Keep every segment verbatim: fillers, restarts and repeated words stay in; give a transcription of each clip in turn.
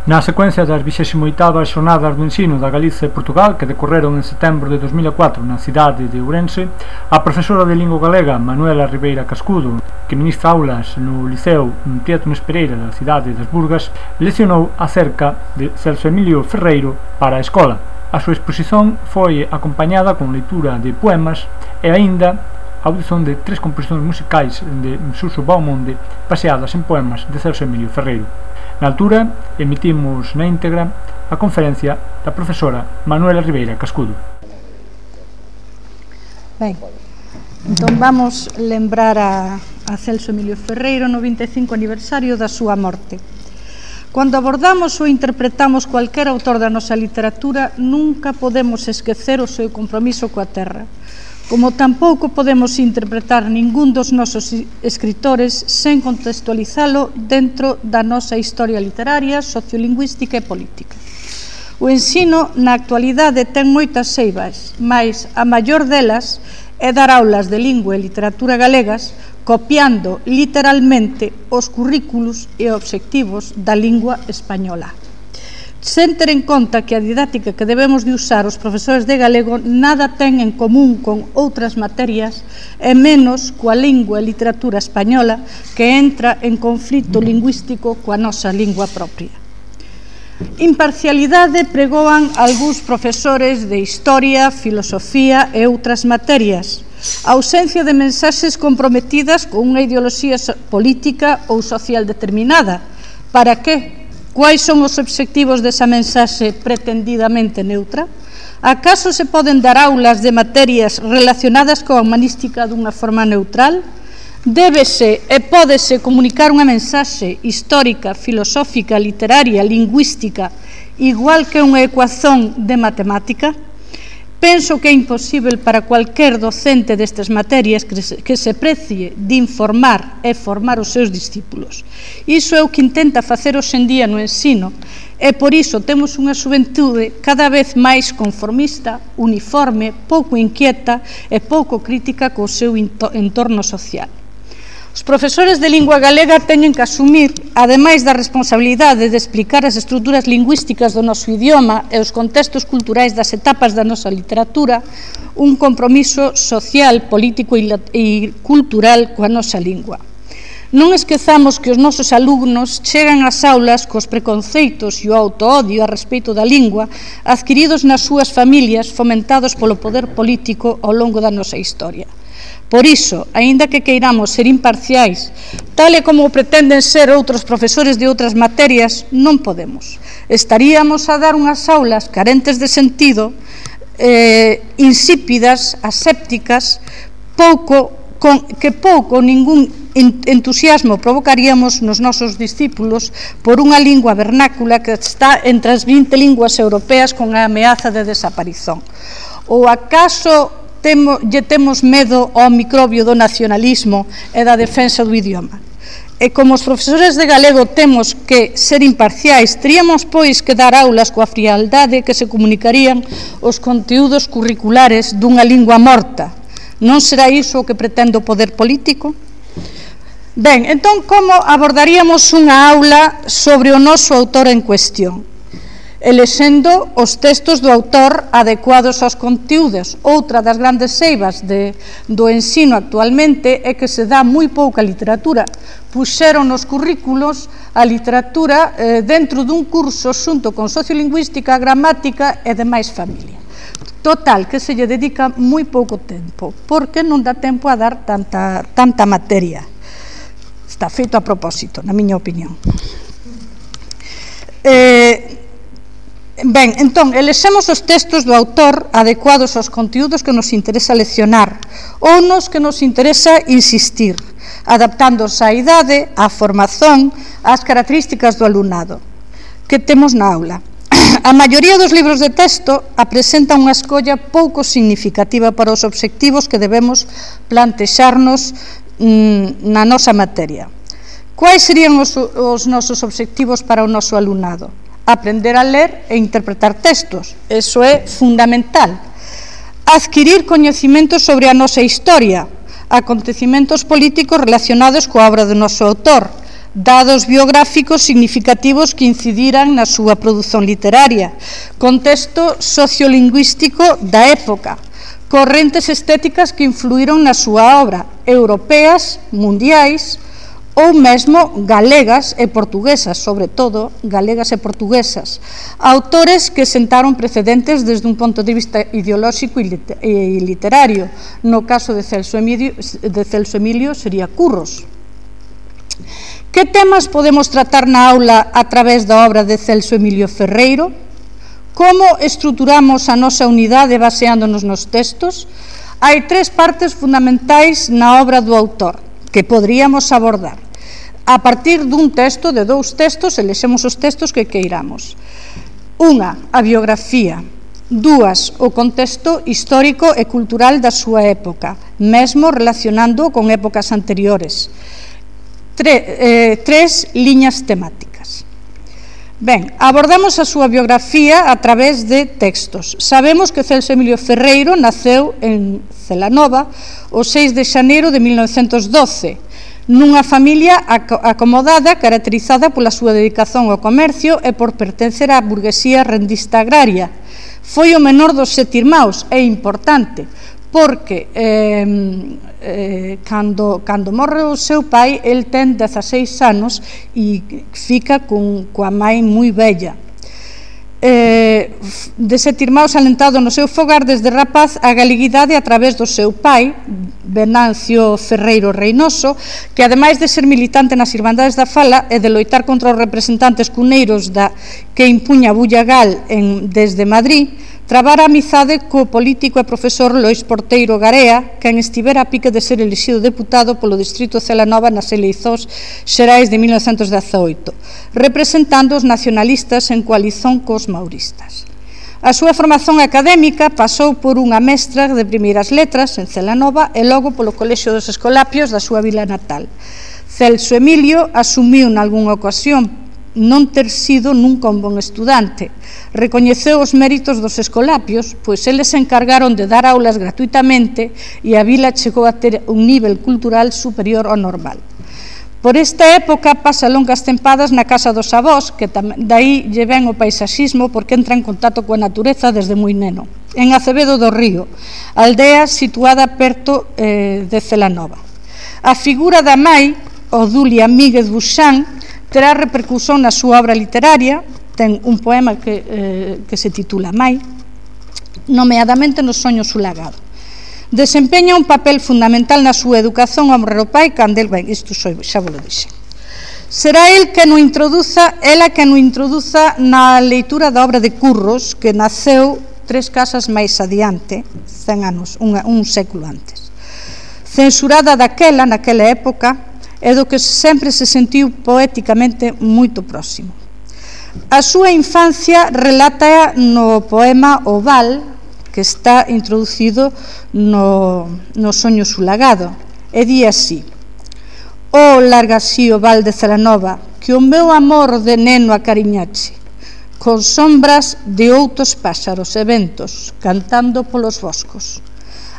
Na secuencia das vixésimo oitavas Xornadas do Ensino da Galiza e Portugal, que decorreron en setembro de dos mil e catro na cidade de Ourense, a profesora de Lingua Galega Manuela Ribeira Cascudo, que ministra aulas no Liceo Prieto Nunes Pereira da cidade das Burgas, leccionou acerca de Celso Emilio Ferreiro para a escola. A súa exposición foi acompañada con leitura de poemas e aínda a audición de tres composicións musicais de Suso Baumonde baseadas en poemas de Celso Emilio Ferreiro. Na altura, emitimos na íntegra a conferencia da profesora Manuela Ribeira Cascudo. Ben, entón vamos lembrar a, a Celso Emilio Ferreiro no vinte e cinco aniversario da súa morte. Cando abordamos ou interpretamos cualquier autor da nosa literatura, nunca podemos esquecer o seu compromiso coa terra, como tampouco podemos interpretar ningún dos nosos escritores sen contextualizalo dentro da nosa historia literaria, sociolingüística e política. O ensino na actualidade ten moitas eivas, mais a maior delas é dar aulas de lingua e literatura galegas copiando literalmente os currículos e obxectivos da lingua española. Sen ter en conta que a didáctica que debemos de usar os profesores de galego nada ten en común con outras materias e menos coa lingua e literatura española, que entra en conflito lingüístico coa nosa lingua propia. Imparcialidade pregoan algúns profesores de historia, filosofía e outras materias. A ausencia de mensaxes comprometidas con unha ideoloxía política ou social determinada. Para que? Quais son os obxectivos desa mensaxe pretendidamente neutra? Acaso se poden dar aulas de materias relacionadas coa humanística dunha forma neutral? Débese e pódese comunicar unha mensaxe histórica, filosófica, literaria, lingüística, igual que unha ecuación de matemática? Penso que é imposible para cualquier docente destas materias que se, que se precie de informar e formar os seus discípulos. Iso é o que intenta facer hoxe en día no ensino e por iso temos unha xuventude cada vez máis conformista, uniforme, pouco inquieta e pouco crítica co seu entorno social. Os profesores de lingua galega teñen que asumir, ademais da responsabilidade de explicar as estruturas lingüísticas do noso idioma e os contextos culturais das etapas da nosa literatura, un compromiso social, político e cultural coa nosa lingua. Non esquezamos que os nosos alumnos chegan ás aulas cos preconceitos e o autoodio a respeito da lingua adquiridos nas súas familias, fomentados polo poder político ao longo da nosa historia. Por iso, aínda que queiramos ser imparciais, tal e como pretenden ser outros profesores de outras materias, non podemos. Estaríamos a dar unhas aulas carentes de sentido, eh, insípidas, asépticas, pouco, con, que pouco ou ningún entusiasmo provocaríamos nos nosos discípulos por unha lingua vernácula que está entre as vinte linguas europeas con a ameaza de desaparición. Ou acaso Temo, lle temos medo ao microbio do nacionalismo e da defensa do idioma. E como os profesores de galego temos que ser imparciais, teríamos pois que dar aulas coa frialdade que se comunicarían os conteúdos curriculares dunha lingua morta. Non será iso o que pretende o poder político? Ben, entón, como abordaríamos unha aula sobre o noso autor en cuestión? Elexendo os textos do autor adecuados aos conteúdos. Outra das grandes eivas de, do ensino actualmente é que se dá moi pouca literatura. Puxeron nos currículos a literatura eh, dentro dun curso xunto con sociolingüística, gramática e demais familia. Total, que se lle dedica moi pouco tempo, porque non dá tempo a dar tanta, tanta materia. Está feito a propósito, na miña opinión. Eh... Ben, entón, elexemos os textos do autor adecuados aos conteúdos que nos interesa leccionar ou nos que nos interesa insistir, adaptándose á idade, á formación, ás características do alumnado que temos na aula. A maioría dos libros de texto apresenta unha escolla pouco significativa para os obxectivos que debemos plantexarnos mmm, na nosa materia. Quais serían os, os nosos obxectivos para o noso alumnado? Aprender a ler e interpretar textos, eso é fundamental. Adquirir coñecementos sobre a nosa historia, acontecimentos políticos relacionados coa obra do noso autor, dados biográficos significativos que incidiran na súa produción literaria, contexto sociolingüístico da época, correntes estéticas que influíron na súa obra, europeas, mundiais, ou mesmo galegas e portuguesas, sobre todo galegas e portuguesas, autores que sentaron precedentes desde un ponto de vista ideolóxico e literario. No caso de Celso Emilio, de Celso Emilio sería Curros. Que temas podemos tratar na aula a través da obra de Celso Emilio Ferreiro? Como estruturamos a nosa unidade baseándonos nos textos? Hai tres partes fundamentais na obra do autor que poderíamos abordar. A partir dun texto, de dous textos, elexemos os textos que queiramos. Unha, a biografía. Dúas, o contexto histórico e cultural da súa época, mesmo relacionando con épocas anteriores. Tre, eh, tres liñas temáticas. Ben, abordamos a súa biografía a través de textos. Sabemos que Celso Emilio Ferreiro naceu en Celanova o seis de xaneiro de mil novecentos doce, nunha familia acomodada caracterizada pola súa dedicación ao comercio e por pertencer á burguesía rendista agraria. Foi o menor dos sete irmãos, é importante, porque eh, eh, cando, cando morre o seu pai, el ten dezaseis anos e fica con, coa mãe moi bella. Eh, de sete irmãos alentado no seu fogar desde rapaz a galeguidade a través do seu pai, Venancio Ferreiro Reynoso, que ademais de ser militante nas Irmandades da Fala e de loitar contra os representantes cuneiros da, que impuña Bullagal en, desde Madrid, trabara amizade co político e profesor Lois Porteiro Garea, quen estivera a pique de ser elixido deputado polo distrito de Celanova nas eleiçóns xerais de mil novecentos dezaoito, representando os nacionalistas en coalición cos mauristas. A súa formación académica pasou por unha mestra de primeiras letras en Celanova e logo polo Colexio dos Escolapios da súa vila natal. Celso Emilio asumiu nalgúnha ocasión non ter sido nunca un bon estudante. Recoñeceu os méritos dos escolapios, pois eles se encargaron de dar aulas gratuitamente e a vila chegou a ter un nivel cultural superior ao normal. Por esta época pasa longas tempadas na casa dos avós, que dai lle ven o paisaxismo porque entra en contacto coa natureza desde moi neno, en Acevedo do Río, aldea situada perto eh, de Celanova. A figura da mai, Odulia Míguez Buxán, terá repercusión na súa obra literaria. Ten un poema que, eh, que se titula Mai, nomeadamente no Soño sulagado. Desempeña un papel fundamental na súa educación ao morrer o pai, cando el, ben, isto xa vos lo dixe. Será el que no introduza, ela que no introduza na leitura da obra de Curros, que naceu tres casas máis adiante, cen anos, un, un século antes. Censurada daquela, naquela época, e do que sempre se sentiu poéticamente moito próximo. A súa infancia relata no poema O Val, que está introducido no, no Soño sulagado, e di así: «Oh, larga así o val de Celanova, que o meu amor de neno acariñache, con sombras de outros páxaros e ventos, cantando polos boscos.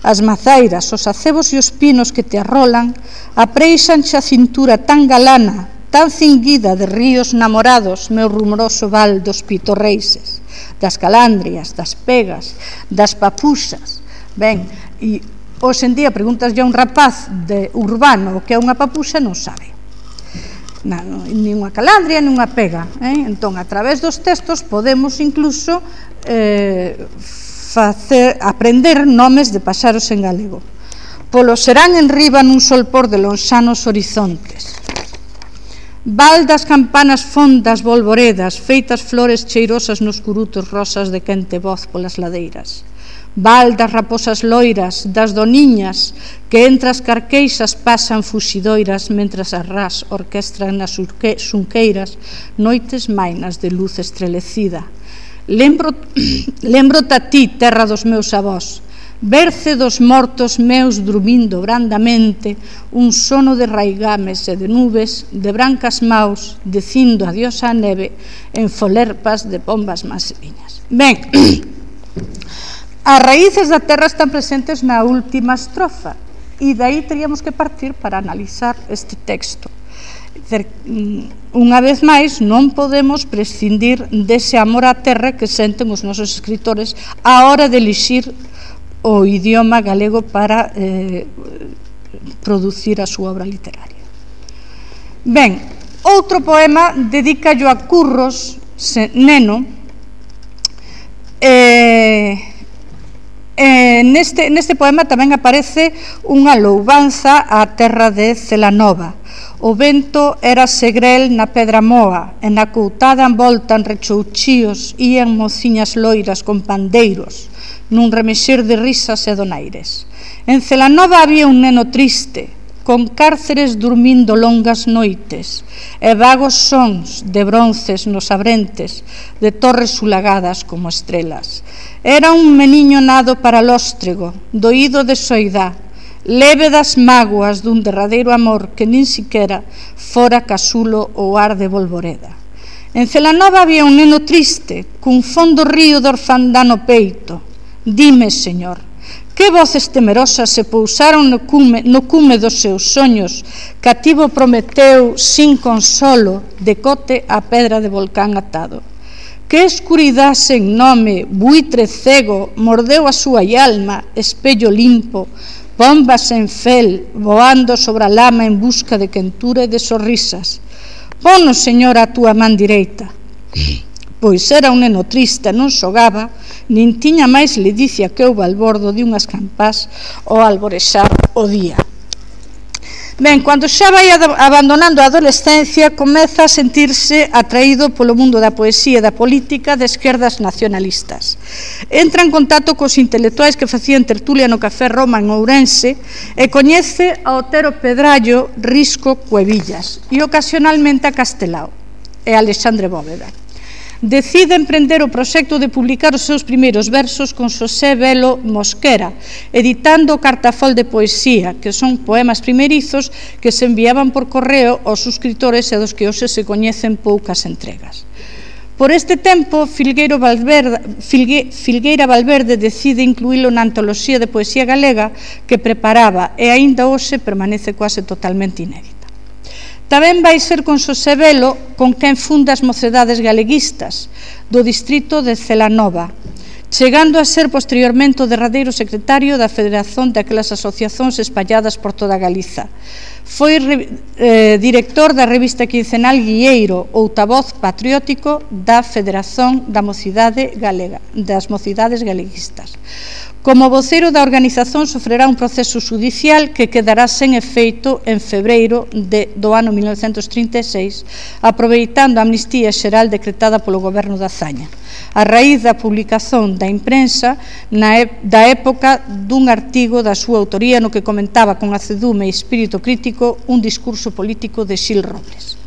As mazairas, os acebos e os pinos que te arrolan apreixanche a cintura tan galana, tan cinguida de ríos namorados, meu rumoroso val dos pitorreises, das calandrias, das pegas, das papuxas». Ben, e hoxe en día preguntas a un rapaz de urbano o que é unha papuxa, non sabe. Nin unha calandria, nin unha pega. Eh? Entón, a través dos textos podemos incluso eh, facer, aprender nomes de paxaros en galego. Polo serán en riba nun solpor de lonxanos horizontes. Val das campanas fondas volvoredas, feitas flores cheirosas nos curutos rosas de quente voz polas ladeiras. Val das raposas loiras, das doniñas, que entre as carqueixas pasan fuxidoiras, mentras as ras orquestran nas xunqueiras noites mainas de luz estrelecida. Lembro, lembro-te a ti, terra dos meus avós, berce dos mortos meus drumindo brandamente, un sono de raigames e de nubes, de brancas maus, dicindo adiós á neve, en folerpas de pombas masviñas. Ben, as raíces da terra están presentes na última estrofa, e daí teríamos que partir para analizar este texto. Unha vez máis, non podemos prescindir dese amor á terra que senten os nosos escritores á hora de elixir o idioma galego para eh, producir a súa obra literaria. Ben, outro poema dedícallo a Curros Neno. eh, eh, neste, neste poema tamén aparece unha louvanza á terra de Celanova. O vento era segrel na pedra moa, e na coutada envoltan rechouchíos ían mociñas loiras con pandeiros, nun remexer de risas e donaires. En Celanova había un neno triste, con cárceres durmindo longas noites, e vagos sons de bronces nos abrentes, de torres sulagadas como estrelas. Era un meniño nado para lóstrego, doído de soidá, leve das mágoas dun derradeiro amor que nin siquera fora casulo ou ar de Volvoreda. En Celanova había un neno triste, cun fondo río de orfandá no peito. Dime, Señor, que voces temerosas se pousaron no cume, no cume dos seus soños, cativo Prometeu sin consolo, decote a pedra de volcán atado. Que escuridá sen nome, buitre cego, mordeu a súa alma, espello limpo, bombas en fel, voando sobre a lama en busca de quentura e de sorrisas. Pono, Señor, a túa man direita. Pois era un neno triste, non xogaba, nin tiña máis ledicia que o balbordo de unhas campás ao alborexar o día. Ben, cando xa vai abandonando a adolescencia, comeza a sentirse atraído polo mundo da poesía e da política de esquerdas nacionalistas. Entra en contacto cos intelectuais que facían tertulia no Café Roma en Ourense e coñece a Otero Pedrallo, Risco, Cuevillas e ocasionalmente a Castelao e a Alexandre Bóveda. Decide emprender o proxecto de publicar os seus primeiros versos con Xosé Velo Mosquera, editando o Cartafol de Poesía, que son poemas primeirizos que se enviaban por correo aos suscriptores e dos que hoxe se coñecen poucas entregas. Por este tempo, Filgueiro Valverde, Filgue, Filgueira Valverde decide incluílo na antoloxía de poesía galega que preparaba e aínda hoxe permanece quase totalmente inédita. Tamén vai ser con Xosé Velo con quen funda as Mocedades Galeguistas do distrito de Celanova, chegando a ser posteriormente o derradeiro secretario da Federación daquelas asociacións espalladas por toda Galiza. Foi eh, director da revista quincenal Guieiro, outavoz patriótico da Federación da Mocidade Galega, das Mocidades Galeguistas. Como voceiro da organización sofrerá un proceso xudicial que quedará sen efeito en febreiro de, do ano mil novecentos trinta e seis, aproveitando a amnistía xeral decretada polo goberno da Zaña, a raíz da publicación da imprensa na, da época dun artigo da súa autoría no que comentaba con acedume e espírito crítico un discurso político de Xil Robles.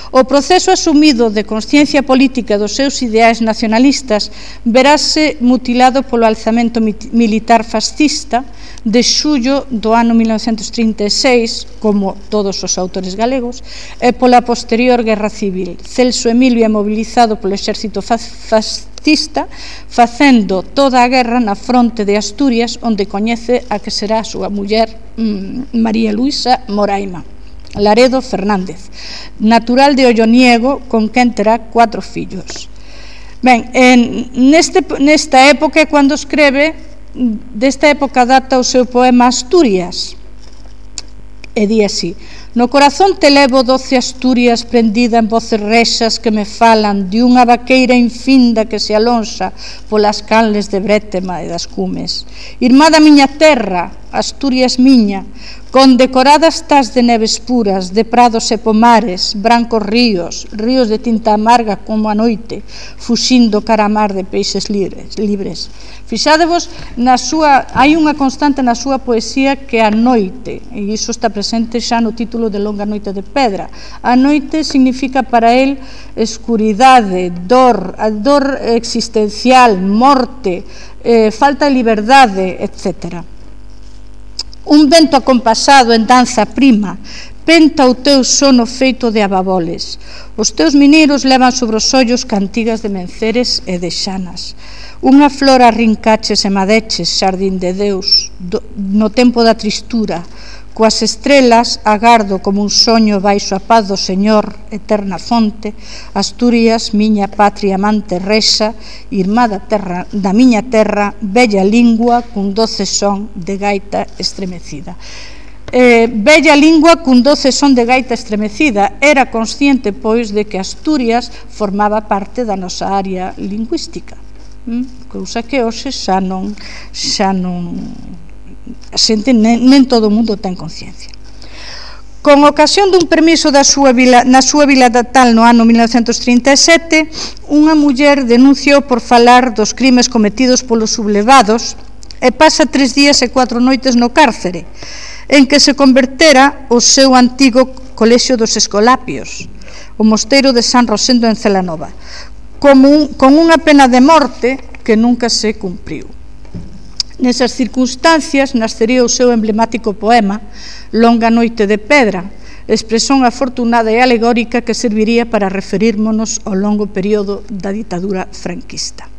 O proceso asumido de consciencia política dos seus ideais nacionalistas verase mutilado polo alzamento militar fascista de xullo do ano mil novecentos trinta e seis, como todos os autores galegos, e pola posterior guerra civil. Celso Emilio é mobilizado polo exército fascista, facendo toda a guerra na fronte de Asturias, onde coñece a que será a súa muller María Luisa Moraima Laredo Fernández, natural de Olloniego, con quen terá cuatro fillos. Ben, en, neste, nesta época, cando escreve, desta época data o seu poema Asturias, e di así: no corazón te levo doce Asturias prendida en voces rexas que me falan de unha vaqueira infinda que se alonxa polas canles de Brétema e das Cumes. Irmá da miña terra, Asturias miña, condecoradas estás de neves puras, de prados e pomares, brancos ríos, ríos de tinta amarga como a noite, fuxindo cara a mar de peixes libres. libres. Fixadevos, na súa, hai unha constante na súa poesía que é a noite, e iso está presente xa no título de Longa Noite de Pedra. A noite significa para el escuridade, dor, a dor existencial, morte, eh, falta de liberdade, etcétera. Un vento acompasado en danza prima penta o teu sono feito de ababoles. Os teus mineiros levan sobre os ollos cantigas de menceres e de xanas. Unha flor arrincaches e madeches, xardín de Deus, do, no tempo da tristura, coas estrelas agardo como un soño baixo a paz do Señor, eterna fonte, Asturias, miña patria amante rexa, irmá da, terra, da miña terra, bella lingua cun doce son de gaita estremecida. Eh, bella lingua cun doce son de gaita estremecida, era consciente, pois, de que Asturias formaba parte da nosa área lingüística, hm? cousa que hoxe xa non, xa non a xente, nen, nen todo o mundo ten conciencia. Con ocasión dun permiso da súa vila, na súa vila natal no ano mil novecentos trinta e sete, unha muller denunciou por falar dos crimes cometidos polos sublevados e pasa tres días e cuatro noites no cárcere, en que se convertera o seu antigo colexio dos Escolapios, o mosteiro de San Rosendo en Celanova, como un, con unha pena de morte que nunca se cumpriu. Nesas circunstancias nascería o seu emblemático poema Longa noite de pedra, expresión afortunada e alegórica que serviría para referírmonos ao longo período da ditadura franquista.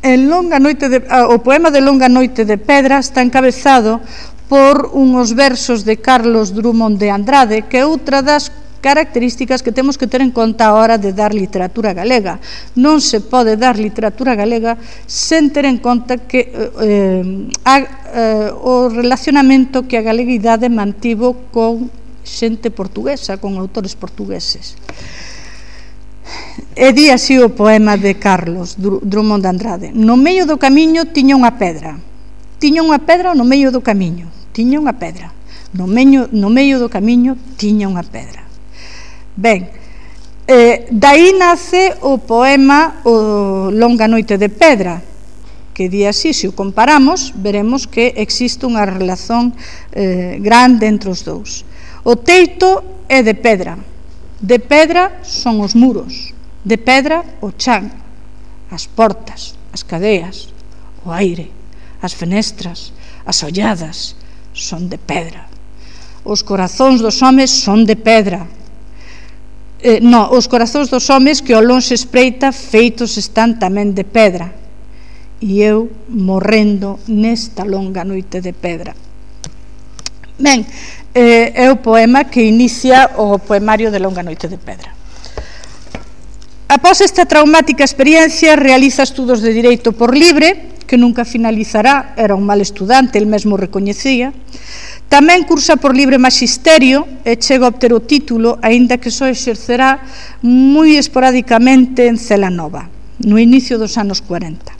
En Longa noite de, o poema de Longa noite de pedra está encabezado por unhos versos de Carlos Drummond de Andrade, que é outra das características que temos que ter en conta a hora de dar literatura galega. Non se pode dar literatura galega sen ter en conta que eh, a, eh, o relacionamento que a galeguidade mantivo con xente portuguesa, con autores portugueses. E di así o poema de Carlos Drummond de Andrade: no medio do camiño tiña unha pedra, tiña unha pedra no medio do camiño, tiña unha pedra, no medio, no medio do camiño tiña unha pedra. Ben, eh, dai nace o poema o Longa noite de pedra, que di así, se o comparamos, veremos que existe unha relación eh, grande entre os dous. O teito é de pedra, de pedra son os muros, de pedra o chan, as portas, as cadeas, o aire, as fenestras, as olladas, son de pedra. Os corazóns dos homes son de pedra. Eh, no, os corazóns dos homes que ao lonxe espreita feitos están tamén de pedra, e eu morrendo nesta longa noite de pedra. Ben, eh, é o poema que inicia o poemario de Longa noite de pedra. Após esta traumática experiencia realiza estudos de Direito por libre, que nunca finalizará, era un mal estudante, el mesmo recoñecía. Tamén cursa por libre maxisterio e chega a obter o título, aínda que só exercerá moi esporádicamente en Celanova, no inicio dos anos cuarenta.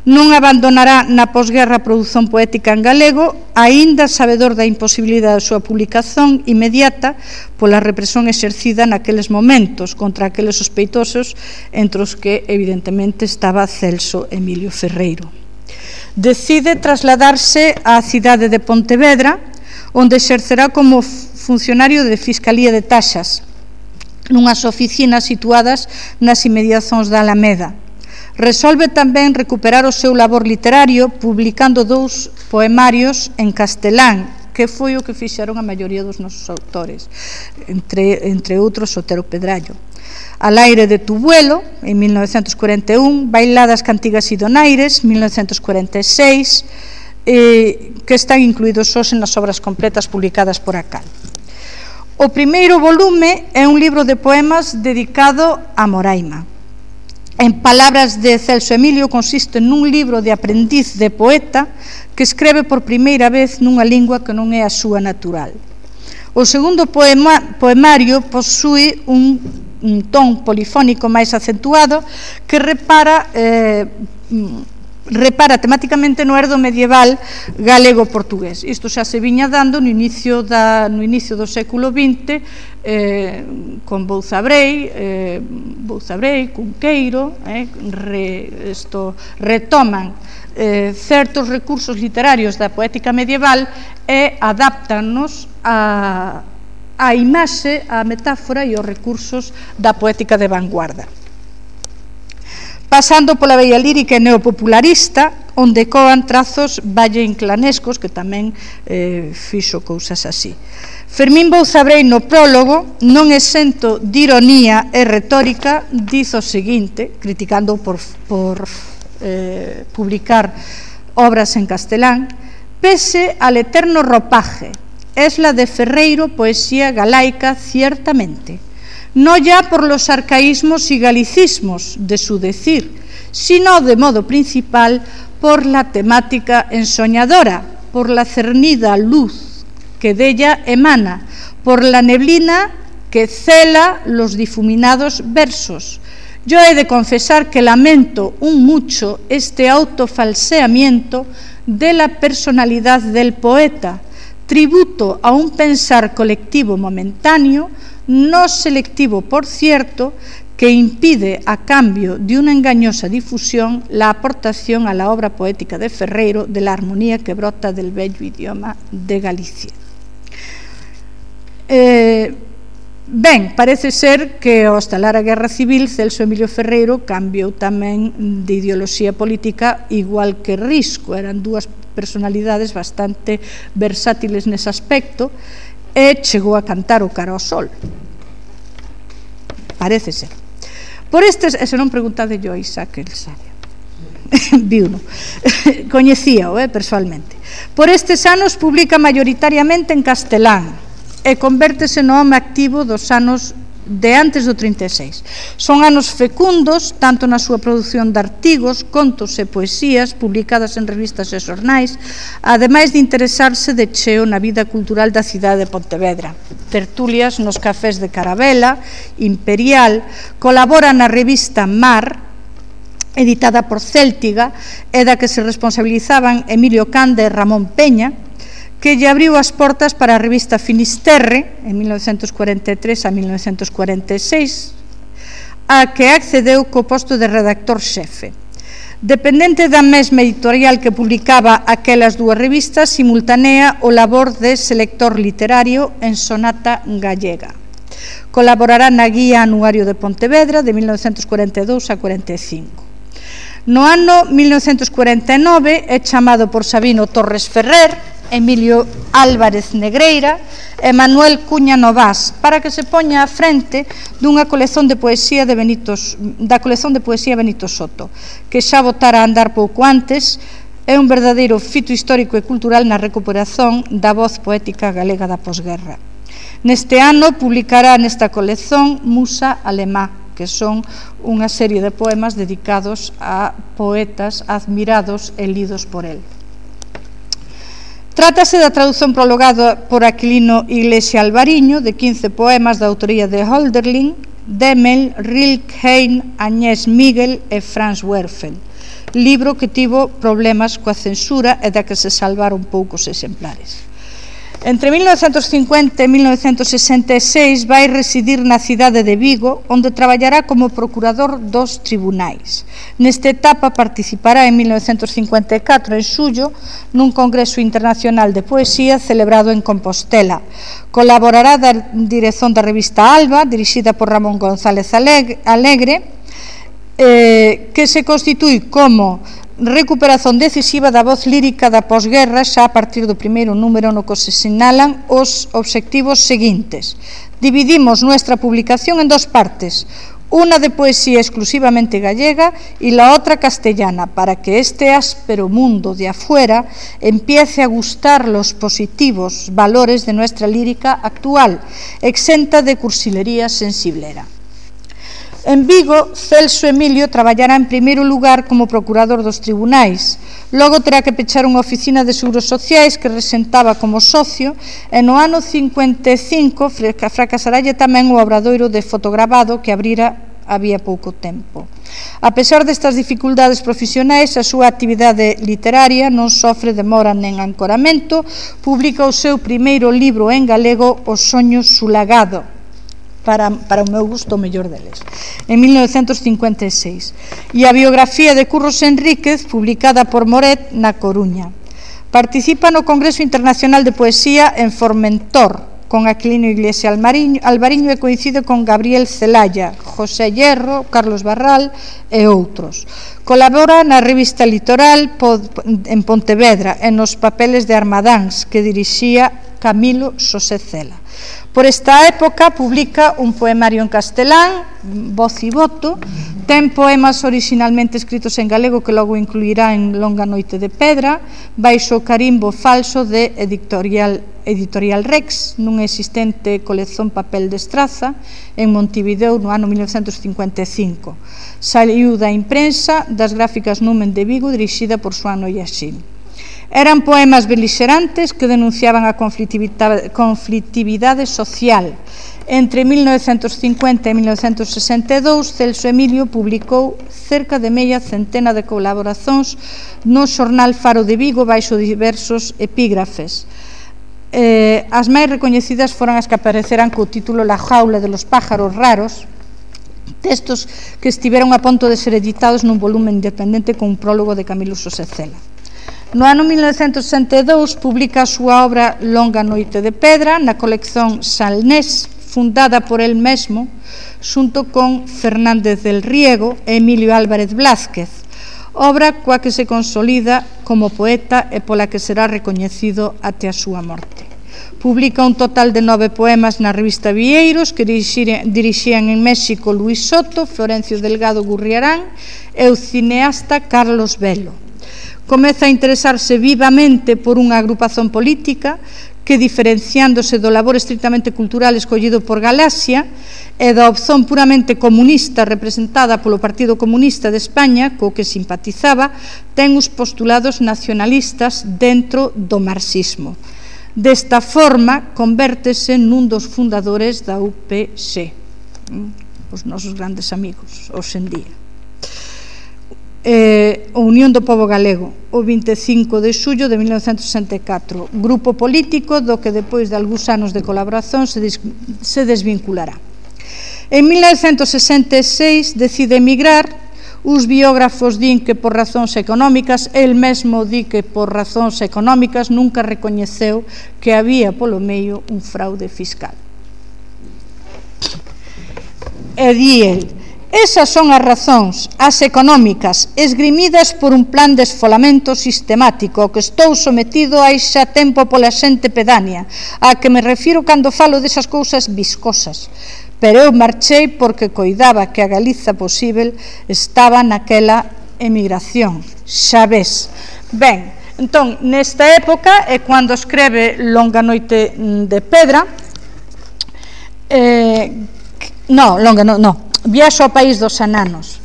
Non abandonará na posguerra a produción poética en galego, aínda sabedor da imposibilidade da súa publicación inmediata pola represión exercida naqueles momentos contra aqueles sospeitosos, entre os que evidentemente estaba Celso Emilio Ferreiro. Decide trasladarse á cidade de Pontevedra, onde exercerá como funcionario de Fiscalía de Taxas, nunhas oficinas situadas nas inmediacións da Alameda. Resolve tamén recuperar o seu labor literario publicando dous poemarios en castelán, que foi o que fixeron a maioría dos nosos autores, entre, entre outros Otero Pedrallo. Al aire de tu vuelo, en mil novecentos cuarenta e un, Bailadas, Cantigas e Donaires, mil novecentos cuarenta e seis, eh, que están incluídos hoxe nas obras completas publicadas por Acal. O primeiro volume é un libro de poemas dedicado a Moraima. En palabras de Celso Emilio, consiste nun libro de aprendiz de poeta que escreve por primeira vez nunha lingua que non é a súa natural. O segundo poema, poemario posúe un un ton polifónico máis acentuado que repara eh, repara temáticamente no herdo medieval galego-portugués. Isto xa se viña dando no inicio, da, no inicio do século vinte, eh, con Bouzabrei, eh, Bouzabrei, Cunqueiro, eh, re, esto, retoman eh, certos recursos literarios da poética medieval e adaptannos a a imaxe, a metáfora e os recursos da poética de vanguarda. Pasando pola bella lírica neopopularista, onde coan trazos valle-inclanescos, que tamén eh, fixo cousas así. Fermín Bouzabrei no prólogo, non exento de ironía e retórica, diz o seguinte, criticando por, por eh, publicar obras en castelán: Pese al eterno ropaje, es la de Ferreiro poesía galaica ciertamente, no ya por los arcaísmos y galicismos de su decir, sino de modo principal por la temática ensoñadora, por la cernida luz que de ella emana, por la neblina que cela los difuminados versos. Yo he de confesar que lamento un mucho este autofalseamiento de la personalidad del poeta, tributo a un pensar colectivo momentáneo, no selectivo por cierto, que impide, a cambio de una engañosa difusión, la aportación a la obra poética de Ferreiro de la armonía que brota del bello idioma de Galicia. Eh, ben, parece ser que ao estalar a Guerra Civil, Celso Emilio Ferreiro cambiou tamén de ideoloxía política, igual que Risco. Eran dúas personalidades bastante versátiles nese aspecto, e chegou a cantar o Cara ao Sol. Parece ser. Por estes, e se non preguntade yo a Isaac, el sabe. Viuno. Coñecíao, eh, personalmente. Por estes anos publica maioritariamente en castelán e convértese no home activo dos anos de antes do trinta e seis. Son anos fecundos, tanto na súa produción de artigos, contos e poesías publicadas en revistas e xornais, ademais de interesarse de cheo na vida cultural da cidade de Pontevedra. Tertulias nos cafés de Carabela, Imperial, colabora na revista Mar, editada por Céltiga, e da que se responsabilizaban Emilio Cande e Ramón Peña, que lle abriu as portas para a revista Finisterre, en mil novecentos cuarenta e tres a mil novecentos cuarenta e seis, a que accedeu co posto de redactor xefe. Dependente da mesma editorial que publicaba aquelas dúas revistas, simultanea o labor de selector literario en Sonata Gallega. Colaborará na Guía Anuario de Pontevedra de mil novecentos cuarenta e dous a cuarenta e cinco. No ano mil novecentos cuarenta e nove é chamado por Sabino Torres Ferrer, Emilio Álvarez Negreira e Manuel Cuña Novás para que se poña á frente dunha colección de poesía de Benito, da colección de poesía Benito Soto, que xa botara a andar pouco antes. É un verdadeiro fito histórico e cultural na recuperación da voz poética galega da posguerra. Neste ano publicará nesta colección Musa Alemá, que son unha serie de poemas dedicados a poetas admirados e lidos por él. Trátase da tradución prologada por Aquilino Iglesia Alvariño de quince poemas da autoría de Hölderlin, Demel, Rilke, Agnès Miguel e Franz Werfel, libro que tivo problemas coa censura e da que se salvaron poucos exemplares. Entre mil novecentos cincuenta e mil novecentos sesenta e seis vai residir na cidade de Vigo, onde traballará como procurador dos tribunais. Nesta etapa participará en mil novecentos cincuenta e catro, en xullo, nun congreso internacional de poesía celebrado en Compostela. Colaborará da dirección da revista Alba, dirixida por Ramón González Alegre, eh, que se constitúe como recuperación decisiva da voz lírica da posguerra xa a partir do primeiro número no que se sinalan os obxectivos seguintes. Dividimos nuestra publicación en dos partes, una de poesía exclusivamente gallega y la otra castellana, para que este áspero mundo de afuera empiece a gustar los positivos valores de nuestra lírica actual, exenta de cursilería sensiblera. En Vigo, Celso Emilio traballará en primeiro lugar como procurador dos tribunais, logo terá que pechar unha oficina de seguros sociais que resentaba como socio, e no ano cincuenta e cinco fracasaralle tamén o obradoiro de fotogravado que abrira había pouco tempo. A pesar destas dificultades profesionais, a súa actividade literaria non sofre demora nen ancoramento, publica o seu primeiro libro en galego, O soño sulagado, Para, para o meu gusto o mellor deles, en mil novecentos cincuenta e seis, e a biografía de Curros Enríquez, publicada por Moret na Coruña. Participa no Congreso Internacional de Poesía en Formentor, con Aquilino Iglesia Alvariño, e coincide con Gabriel Celaya, José Hierro, Carlos Barral e outros. Colabora na revista Litoral en Pontevedra e nos papeles de Armadáns, que dirixía Camilo Xosé Cela. Por esta época publica un poemario en castelán, Voz e Voto, ten poemas originalmente escritos en galego que logo incluirá en Longa noite de pedra, baixo o carimbo falso de Editorial, Editorial Rex, nunha existente colección Papel de Estraza, en Montevideo no ano mil novecentos cincuenta e cinco. Saiu da imprensa das Gráficas Numen de Vigo, dirixida por Xoán Noyaxil. Eran poemas belixerantes que denunciaban a conflictividade, conflictividade social. Entre mil novecentos cincuenta e mil novecentos sesenta e dous, Celso Emilio publicou cerca de media centena de colaboracións no xornal Faro de Vigo baixo diversos epígrafes. Eh, as máis recoñecidas foron as que apareceran co título La jaula de los pájaros raros, textos que estiveron a punto de ser editados nun volumen independente con un prólogo de Camilo Sosecela. No ano mil novecentos sesenta e dous publica a súa obra Longa noite de pedra na colección Salnés, fundada por el mesmo, xunto con Fernández del Riego e Emilio Álvarez Blázquez, obra coa que se consolida como poeta e pola que será recoñecido até a súa morte. Publica un total de nove poemas na revista Vieiros que dirixían en México Luis Soto, Florencio Delgado Gurriarán e o cineasta Carlos Velo. Comeza a interesarse vivamente por unha agrupación política que, diferenciándose do labor estritamente cultural escollido por Galaxia e da opción puramente comunista representada polo Partido Comunista de España, co que simpatizaba, ten os postulados nacionalistas dentro do marxismo. Desta forma, convértese nun dos fundadores da U P C, os nosos grandes amigos, hoxe en día. Eh, a Unión do Pobo Galego, o vinte e cinco de xullo de mil novecentos sesenta e catro, grupo político do que depois de algúns anos de colaboración se, des, se desvinculará. En mil novecentos sesenta e seis decide emigrar. Os biógrafos din que por razóns económicas, el mesmo di que por razóns económicas nunca recoñeceu que había polo medio un fraude fiscal. E di el: esas son as razóns, as económicas, esgrimidas por un plan de esfolamento sistemático ao que estou sometido hai xa tempo pola xente pedánea, a que me refiro cando falo desas cousas viscosas. Pero eu marchei porque coidaba que a Galiza posível estaba naquela emigración. Xa ves. Ben, entón, nesta época é cando escreve Longa noite de pedra, eh, no, longa, no, no, Viaxo ao país dos ananos,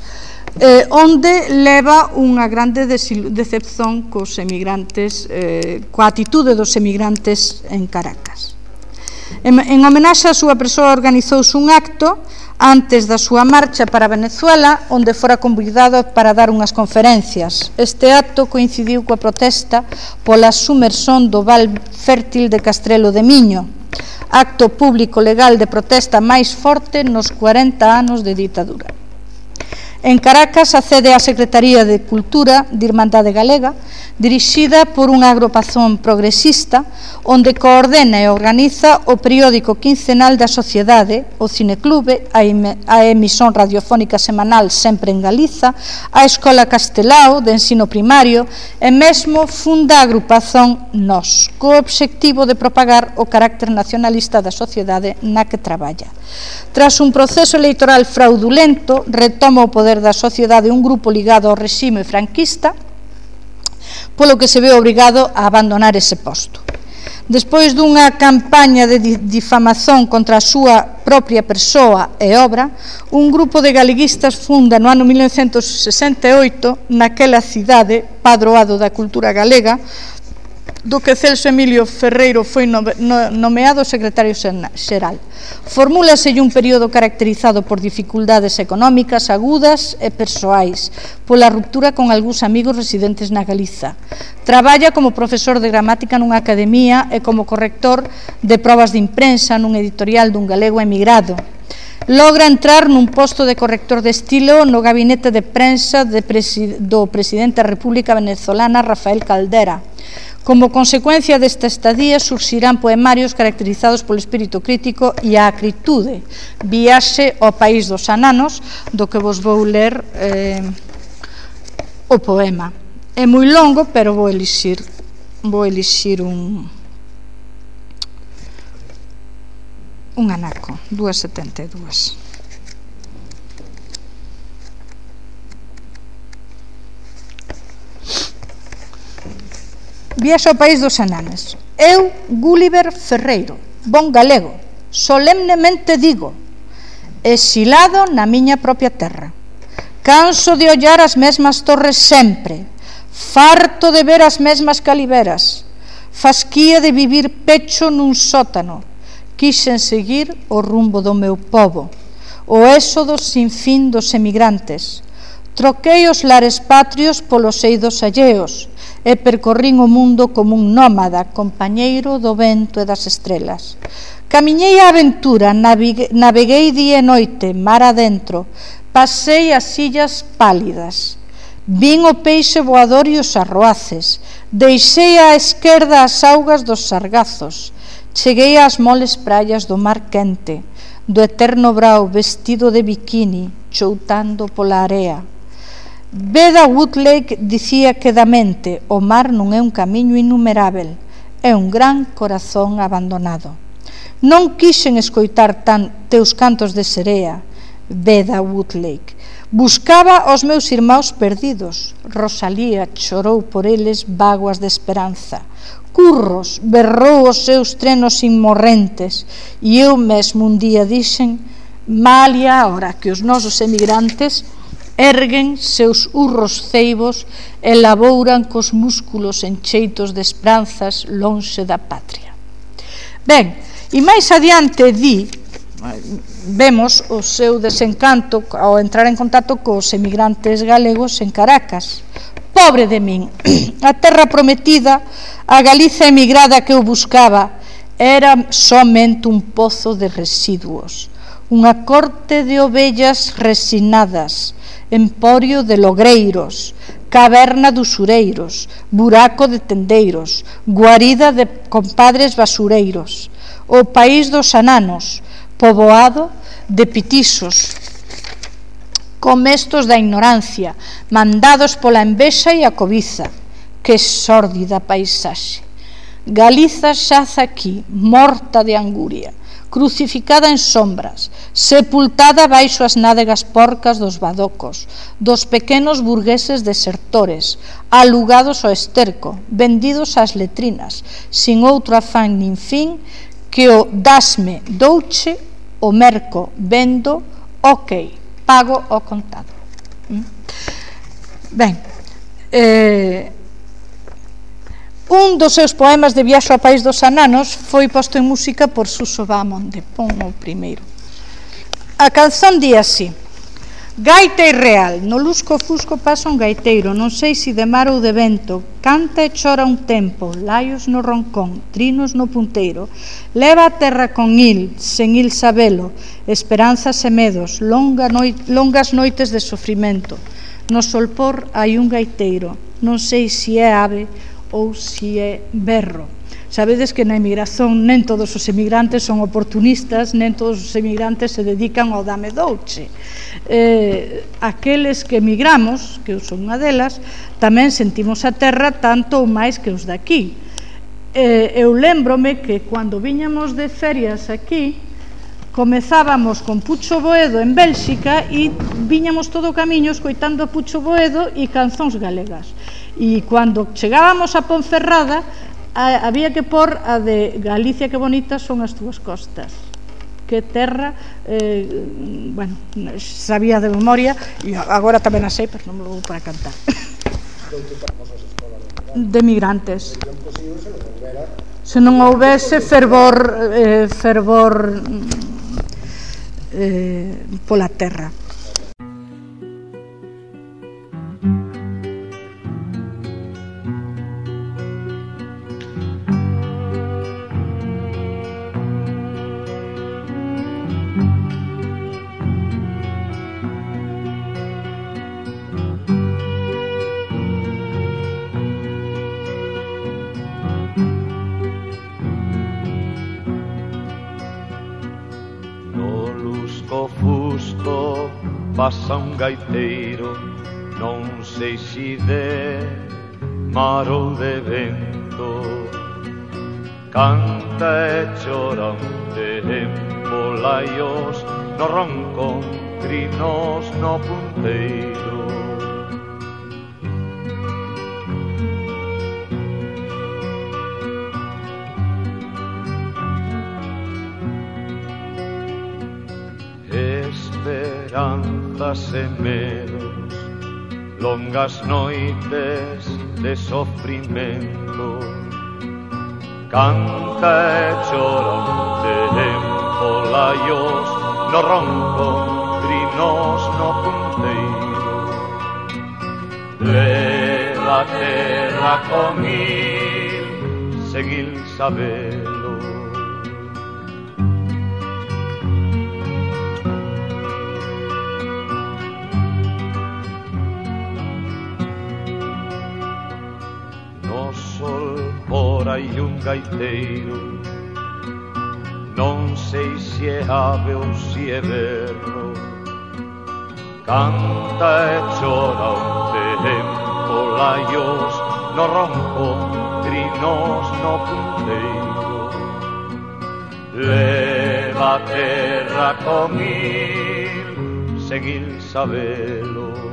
eh, onde leva unha grande decepción cos emigrantes, eh, coa atitude dos emigrantes en Caracas. En, en homenaxe á súa persoa organizouse un acto antes da súa marcha para Venezuela, onde fora convidado para dar unhas conferencias. Este acto coincidiu coa protesta pola sumersón do val fértil de Castrelo de Miño, acto público legal de protesta máis forte nos cuarenta anos de ditadura. En Caracas accede á Secretaría de Cultura de Irmandade Galega, dirixida por unha agrupación progresista, onde coordena e organiza o periódico quincenal da sociedade, o Cineclube, a emisión radiofónica semanal Sempre en Galiza, a Escola Castelao de ensino primario e mesmo funda a agrupación Nós, co obxectivo de propagar o carácter nacionalista da sociedade na que traballa. Tras un proceso electoral fraudulento, retoma o poder da sociedade un grupo ligado ao regime franquista, polo que se ve obrigado a abandonar ese posto. Despois dunha campaña de difamación contra a súa propia persoa e obra, un grupo de galeguistas funda no ano mil novecentos sesenta e oito naquela cidade, padroado da cultura galega, do que Celso Emilio Ferreiro foi nomeado secretario xeral. Formúlaselle un período caracterizado por dificultades económicas agudas e persoais, pola ruptura con algúns amigos residentes na Galiza. Traballa como profesor de gramática nunha academia e como corrector de probas de imprensa nun editorial dun galego emigrado. Logra entrar nun posto de corrector de estilo no gabinete de prensa de presi- do presidente da República Venezolana, Rafael Caldera. Como consecuencia desta estadía surxirán poemarios caracterizados polo espírito crítico e a acritude. Viaxe ao país dos ananos, do que vos vou ler eh, o poema. É moi longo, pero vou elixir, vou elixir un, un anaco, dúas setenta e dúas. Viaxe ao país dos ananes. Eu, Gulliver Ferreiro, bon galego, solemnemente digo, exilado na miña propia terra, canso de ollar as mesmas torres sempre, farto de ver as mesmas caliveras, fasquía de vivir pecho nun sótano, quixen seguir o rumbo do meu pobo, o éxodo sin fin dos emigrantes, troquei os lares patrios polos eidos alleos e percorrín o mundo como un nómada, compañeiro do vento e das estrelas. Camiñei a aventura, naveguei día e noite, mar adentro, pasei as illas pálidas, vin o peixe voador e os arroaces, deixei á esquerda as augas dos sargazos, cheguei ás moles praias do mar quente, do eterno brao vestido de biquini, choutando pola area. Beda Woodlake dicía quedamente, o mar non é un camiño innumerável, é un gran corazón abandonado. Non quixen escoitar tan teus cantos de serea, Beda Woodlake. Buscaba os meus irmãos perdidos. Rosalía chorou por eles vaguas de esperanza. Curros berrou os seus trenos inmorrentes e eu mesmo un día dixen, malia ahora que os nosos emigrantes erguen seus urros ceibos e labouran cos músculos encheitos de esperanzas lonxe da patria. Ben, e máis adiante di, vemos o seu desencanto ao entrar en contacto cos emigrantes galegos en Caracas. Pobre de min, a terra prometida, a Galiza emigrada que eu buscaba, era somente un pozo de residuos, unha corte de ovellas resinadas, emporio de logreiros, caverna de usureiros, buraco de tendeiros, guarida de compadres basureiros, o país dos ananos, poboado de pitixos, comestos da ignorancia, mandados pola envexa e a cobiza. Que sórdida paisaxe. Galiza xaza aquí, morta de anguria, crucificada en sombras, sepultada baixo as nádegas porcas dos badocos, dos pequenos burgueses desertores, alugados ao esterco, vendidos ás letrinas, sin outro afán nin fin que o dasme, douche, o merco, vendo, ok, pago ao contado. Ben, eh, un dos seus poemas de viaxe ao país dos ananos foi posto en música por Suso Baamonde, pon o primeiro. A canción di así: gaita irreal, no lusco fusco pasa un gaiteiro, non sei se de mar ou de vento, canta e chora un tempo, laios no roncón, trinos no punteiro, leva a terra con il, sen il sabelo, esperanzas e medos, longa noi, longas noites de sofrimento. No solpor hai un gaiteiro, non sei se é ave ou se é berro. Sabedes que na emigración nen todos os emigrantes son oportunistas, nen todos os emigrantes se dedican ao dame douche. Eh, aqueles que emigramos, que eu son unha delas, tamén sentimos a terra tanto ou máis que os daqui. Eh, eu lembrome que cando viñamos de ferias aquí, comezábamos con Pucho Boedo en Bélxica e viñamos todo o camiño escoitando a Pucho Boedo e canzóns galegas. E cando chegábamos a Ponferrada, a, había que por a de Galicia que bonita son as túas costas. Que terra, eh, bueno, sabía de memoria e agora tamén a sei, pero non me vou para cantar. De migrantes. Se non houvese fervor, eh, fervor eh, pola terra. Pasa un gaiteiro, non sei se de mar ou de vento, canta e chora un tempo, polaios no ronco, trinos no punteiro. Esperanzas e medos, longas noites de sofrimento, canta e chora un tempo laios no ronco, trinos no punteiro. Leva a terra con il, sen il sabelo. Hai un gaiteiro, non sei se é ave ou se é berro, canta e chora un tempo laios no ronco, trinos no punteiro. Leva a terra con il, sen il sabelo.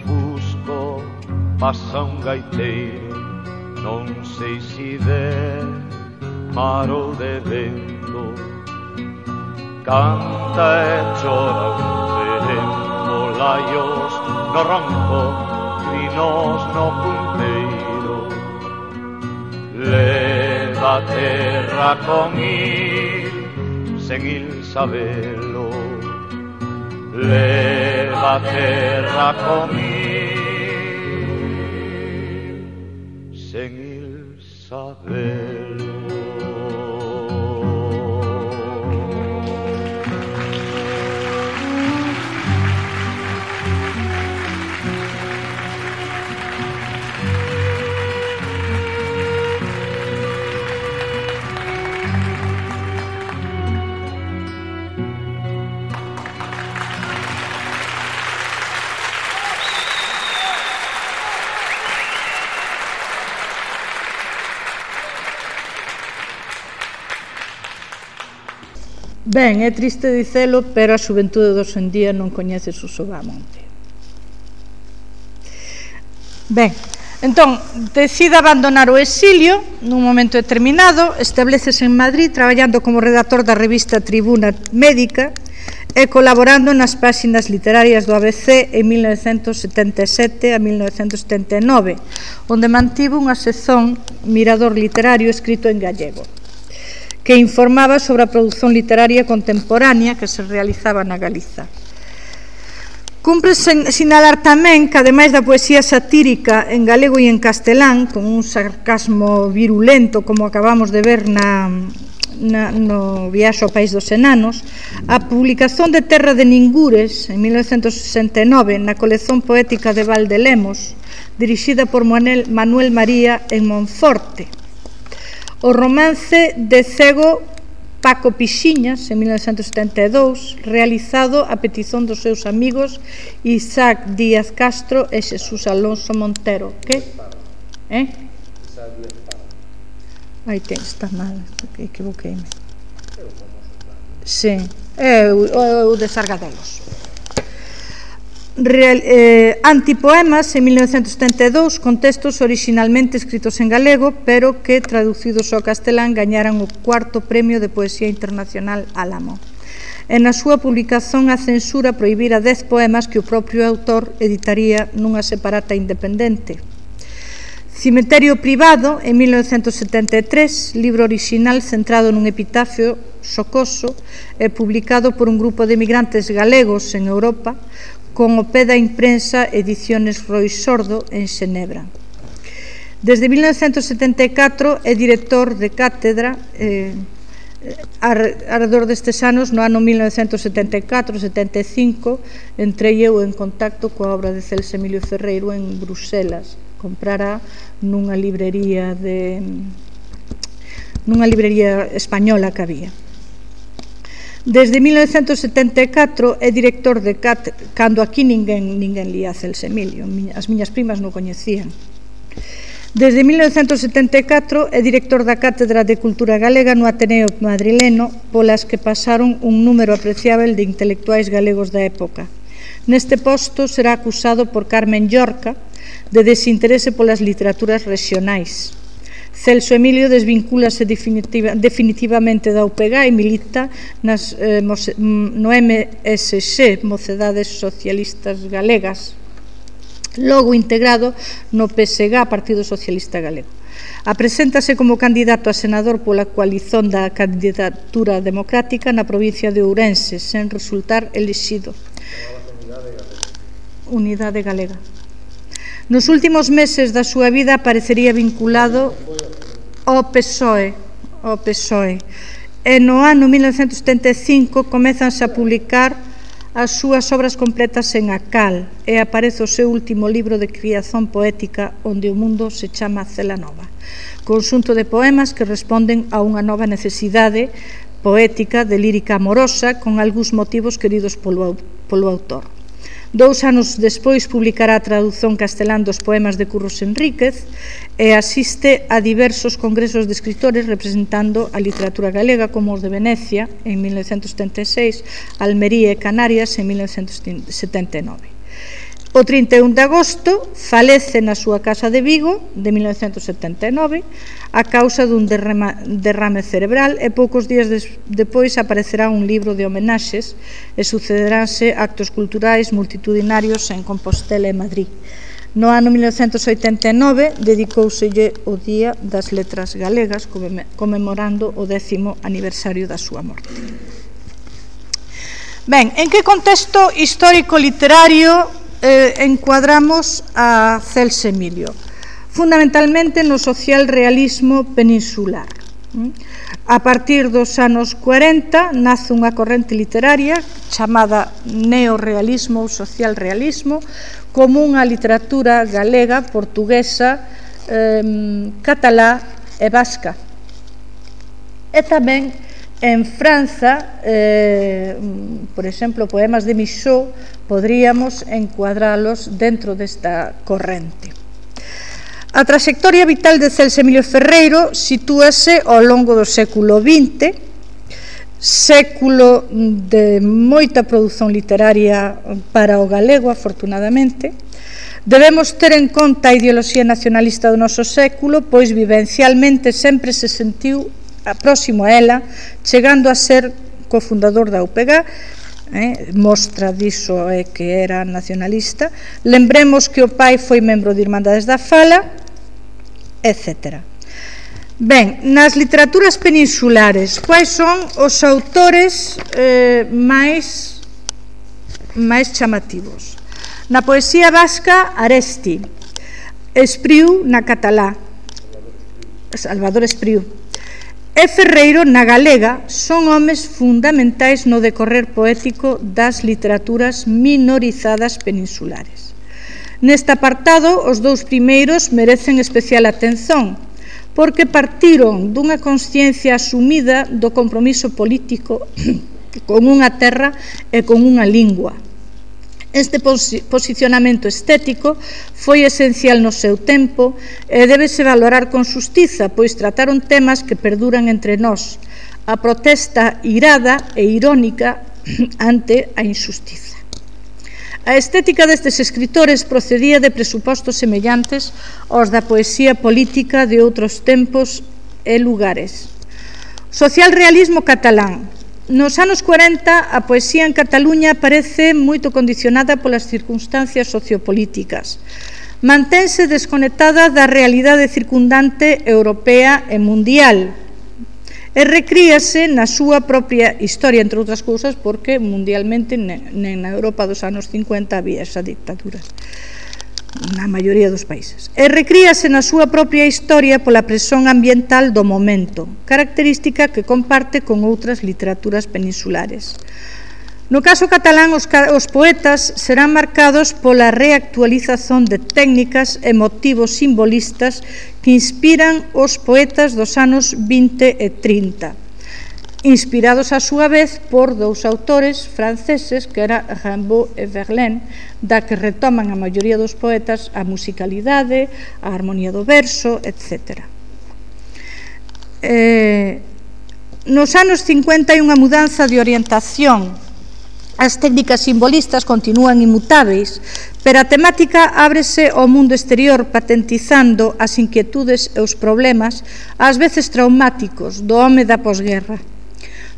Fusco passa un gaiteiro, non sei se de mar ou de vento, canta e chora un tempo laios no ronco, trinos no punteiro. Leva a terra con il, sen il sabelo. Leva a terra con il, sen il sabelo. Ben, é triste dicelo, pero a xuventude dos en día non coñece o Sobamonte. Ben, entón, decide abandonar o exilio nun momento determinado, establecese en Madrid traballando como redactor da revista Tribuna Médica e colaborando nas páxinas literarias do A B C en mil novecentos setenta e sete a mil novecentos setenta e nove, onde mantivo unha sección Mirador Literario escrito en gallego, que informaba sobre a produción literaria contemporánea que se realizaba na Galiza. Cumpre sinalar tamén que, ademais da poesía satírica en galego e en castelán, con un sarcasmo virulento, como acabamos de ver na, na, no Viaxe ao País dos Enanos, a publicación de Terra de Ningures, en mil novecentos sesenta e nove, na colección poética de Valdelemos, dirixida por Manuel, Manuel María en Monforte, o romance de cego Paco Pixiñas, en mil novecentos setenta e dous, realizado a petición dos seus amigos Isaac Díaz Castro e Xesús Alonso Montero. Que? Eh? Aí ten, está mal, equivoqueime. Sí, é o de Sargadelos. Real, eh, Antipoemas, en mil novecentos setenta e dous, con textos originalmente escritos en galego, pero que, traducidos ao castelán, gañaran o cuarto premio de Poesía Internacional Álamo. E na súa publicación a censura prohibira dez poemas que o propio autor editaría nunha separata independente. Cemiterio Privado, en mil novecentos setenta e tres, libro original centrado nun epitafio xocoso e publicado por un grupo de emigrantes galegos en Europa, con o pé da imprensa Ediciones Roi Sordo en Xenebra. Desde mil novecentos setenta e catro é director de cátedra eh, arredor destes anos. No ano mil novecentos setenta e catro setenta e cinco entrei eu en contacto coa obra de Celso Emilio Ferreiro en Bruselas. Comprara nunha librería de nunha librería española que había. Desde mil novecentos setenta e catro é director de cátedra, cando aquí ninguén, ninguén lía Celso Emilio, as miñas primas non coñecían. Desde mil novecentos setenta e catro é director da Cátedra de Cultura Galega no Ateneo Madrileno, polas que pasaron un número apreciável de intelectuais galegos da época. Neste posto será acusado por Carmen Llorca de desinterese polas literaturas regionais. Celso Emilio desvincúlase definitiva, definitivamente da U P G e milita nas, eh, no M S X, Mocedades Socialistas Galegas, logo integrado no P S G, Partido Socialista Galego. Apreséntase como candidato a senador pola coalición da Candidatura Democrática na provincia de Ourense, sen resultar elixido. Unidade Galega. Nos últimos meses da súa vida aparecería vinculado ao P S O E, ao P S O E. E no ano mil novecentos setenta e cinco comezanse a publicar as súas obras completas en Acal e aparece o seu último libro de criación poética onde o mundo se chama Cela Nova, conxunto de poemas que responden a unha nova necesidade poética de lírica amorosa con algúns motivos queridos polo, polo autor. Dous anos despois publicará a tradución castelán dos poemas de Curros Enríquez e asiste a diversos congresos de escritores representando a literatura galega como os de Venecia en mil novecentos setenta e seis, Almería e Canarias en mil novecentos setenta e nove. O trinta e un de agosto falece na súa casa de Vigo de mil novecentos setenta e nove a causa dun derrama, derrame cerebral e poucos días des, depois aparecerá un libro de homenaxes e sucederánse actos culturais multitudinarios en Compostela e Madrid. No ano mil novecentos oitenta e nove dedicouselle o Día das Letras Galegas conmemorando o décimo aniversario da súa morte. Ben, en que contexto histórico-literario Eh, encuadramos a Celso Emilio? Fundamentalmente no social realismo peninsular. A partir dos anos cuarenta nace unha corrente literaria chamada neorrealismo ou social realismo como unha literatura galega, portuguesa, eh, catalá e vasca. E tamén en Franza, eh, por exemplo, poemas de Michaud podríamos encuadralos dentro desta corrente. A trayectoria vital de Celso Emilio Ferreiro sitúase ao longo do século vinte, século de moita produción literaria para o galego, afortunadamente. Debemos ter en conta a ideoloxía nacionalista do noso século, pois vivencialmente sempre se sentiu próximo a ela, chegando a ser cofundador da U P G, eh, mostra diso é que era nacionalista. Lembremos que o pai foi membro de Irmandades da Fala, etcétera. Ben, nas literaturas peninsulares, quais son os autores eh, máis, máis chamativos? Na poesía vasca, Aresti, Espriu na catalá, Salvador Espriu, e Ferreiro na galega son homes fundamentais no decorrer poético das literaturas minorizadas peninsulares. Neste apartado, os dous primeiros merecen especial atención, porque partiron dunha consciencia asumida do compromiso político con unha terra e con unha lingua. Este posicionamento estético foi esencial no seu tempo e débese valorar con xustiza, pois trataron temas que perduran entre nós, a protesta irada e irónica ante a injustiza. A estética destes escritores procedía de presupostos semellantes aos da poesía política de outros tempos e lugares. Socialrealismo catalán. Nos anos cuarenta, a poesía en Cataluña parece moito condicionada polas circunstancias sociopolíticas. Mantense desconectada da realidade circundante europea e mundial e recríase na súa propia historia, entre outras cousas, porque mundialmente, nen na Europa dos anos cincuenta, había esa dictadura na maioría dos países. E recríase na súa propia historia pola presión ambiental do momento, característica que comparte con outras literaturas peninsulares. No caso catalán, os, os poetas serán marcados pola reactualización de técnicas e motivos simbolistas que inspiran os poetas dos anos vinte e trinta. inspirados a súa vez por dous autores franceses, que era Rimbaud e Verlaine, da que retoman a maioría dos poetas a musicalidade, a armonía do verso, etcétera. Eh, nos anos cincuenta hai unha mudanza de orientación. As técnicas simbolistas continúan inmutáveis, pero a temática ábrese ao mundo exterior, patentizando as inquietudes e os problemas, ás veces traumáticos, do home da posguerra.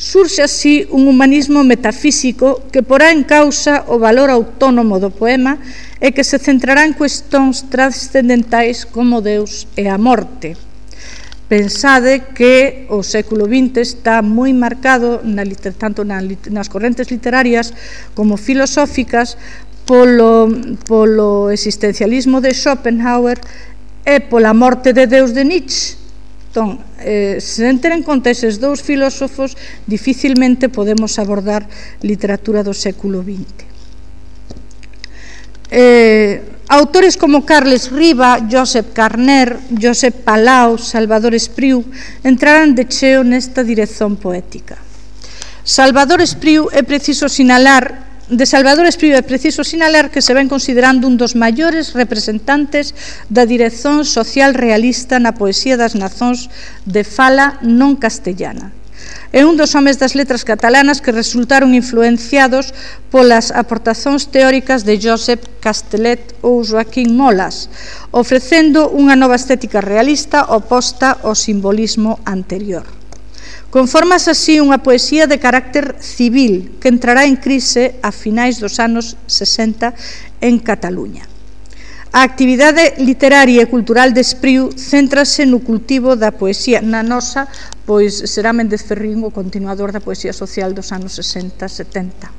Surxe así un humanismo metafísico que porá en causa o valor autónomo do poema e que se centrará en cuestións trascendentais como Deus e a morte. Pensade que o século vinte está moi marcado na, tanto na, nas correntes literarias como filosóficas polo, polo existencialismo de Schopenhauer e pola morte de Deus de Nietzsche. Entón, eh, se ter en conta eses dous filósofos, dificilmente podemos abordar literatura do século vinte. Eh, autores como Carles Riba, Josep Carner, Josep Palau, Salvador Espriu entrarán de cheo nesta dirección poética. Salvador Espriu é preciso sinalar De Salvador Espriu é preciso sinalar que se ven considerando un dos maiores representantes da dirección social realista na poesía das nazóns de fala non castellana. É un dos homes das letras catalanas que resultaron influenciados polas aportacións teóricas de Josep Castellet ou Joaquín Molas, ofrecendo unha nova estética realista oposta ao simbolismo anterior. Conformase así unha poesía de carácter civil que entrará en crise a finais dos anos sesenta en Cataluña. A actividade literaria e cultural de Espriu céntrase no cultivo da poesía. Na nosa, pois, será Méndez Ferrín o continuador da poesía social dos anos sesenta setenta.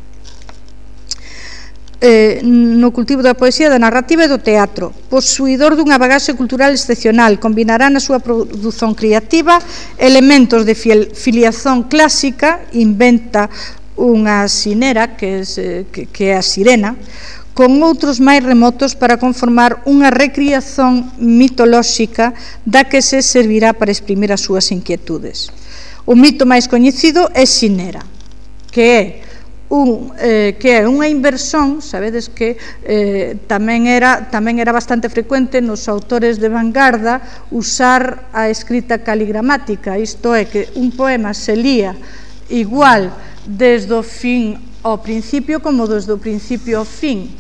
Eh, no cultivo da poesía, da narrativa e do teatro. Posuidor dunha bagaxe cultural excepcional, combinará na súa produción creativa elementos de filiación clásica, inventa unha sinera, que, es, que, que é a sirena, con outros máis remotos para conformar unha recriación mitolóxica da que se servirá para exprimir as súas inquietudes. O mito máis coñecido é Xinera, que é Un, eh, que é unha inversión, sabedes que eh, tamén, era, tamén era bastante frecuente nos autores de vanguarda usar a escrita caligramática, isto é, que un poema se lía igual desde o fin ao principio como desde o principio ao fin.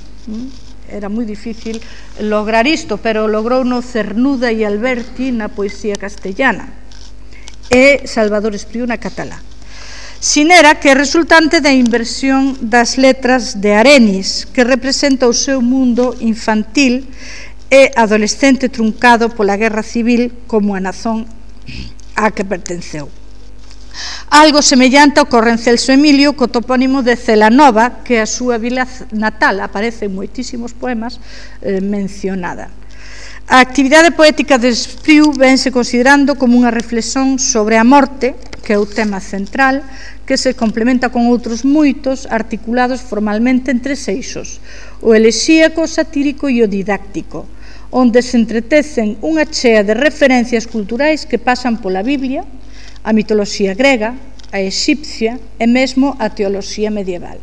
Era moi difícil lograr isto, pero logrou no Cernuda e Alberti na poesía castellana e Salvador Espriu na catalá. Xinera, que é resultante da inversión das letras de Arenis, que representa o seu mundo infantil e adolescente truncado pola guerra civil como a nazón á que pertenceu. Algo semellante ocorre en Celso Emilio co topónimo de Celanova, que é a súa vila natal, aparece en moitísimos poemas eh, mencionada. A actividade poética de Espriu vense considerando como unha reflexión sobre a morte, que é o tema central, que se complementa con outros moitos articulados formalmente en tres eixos: o elexíaco, o satírico e o didáctico, onde se entretecen unha chea de referencias culturais que pasan pola Biblia, a mitoloxía grega, a exipcia e mesmo a teoloxía medieval.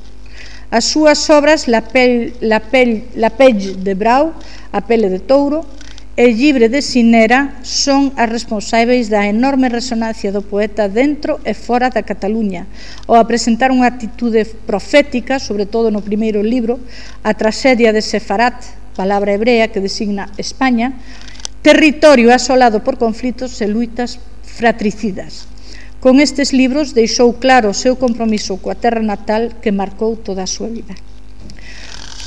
As súas obras La Pelle, La Pelle, La Pelle de Brau, A Pele de Touro, e Llibre de Xinera son as responsáveis da enorme resonancia do poeta dentro e fora da Cataluña, ao presentar unha actitude profética, sobre todo no primeiro libro, a traxedia de Sefarat, palabra hebrea que designa España, territorio asolado por conflitos e luitas fratricidas. Con estes libros deixou claro o seu compromiso coa terra natal que marcou toda a súa vida.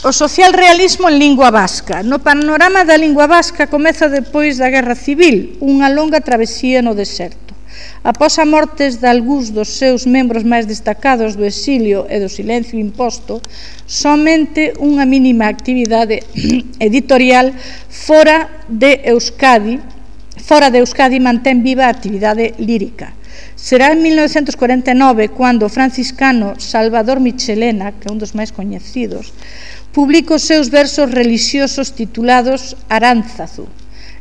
O socialrealismo en lingua vasca. No panorama da lingua vasca comeza depois da Guerra Civil, unha longa travesía no deserto. Após a mortes de algúns dos seus membros máis destacados do exilio e do silencio imposto, somente unha mínima actividade editorial fora de Euskadi, fora de Euskadi mantén viva a actividade lírica. Será en mil novecentos cuarenta e nove cando o franciscano Salvador Michelena, que é un dos máis coñecidos, publica os seus versos relixiosos titulados Aránzazu,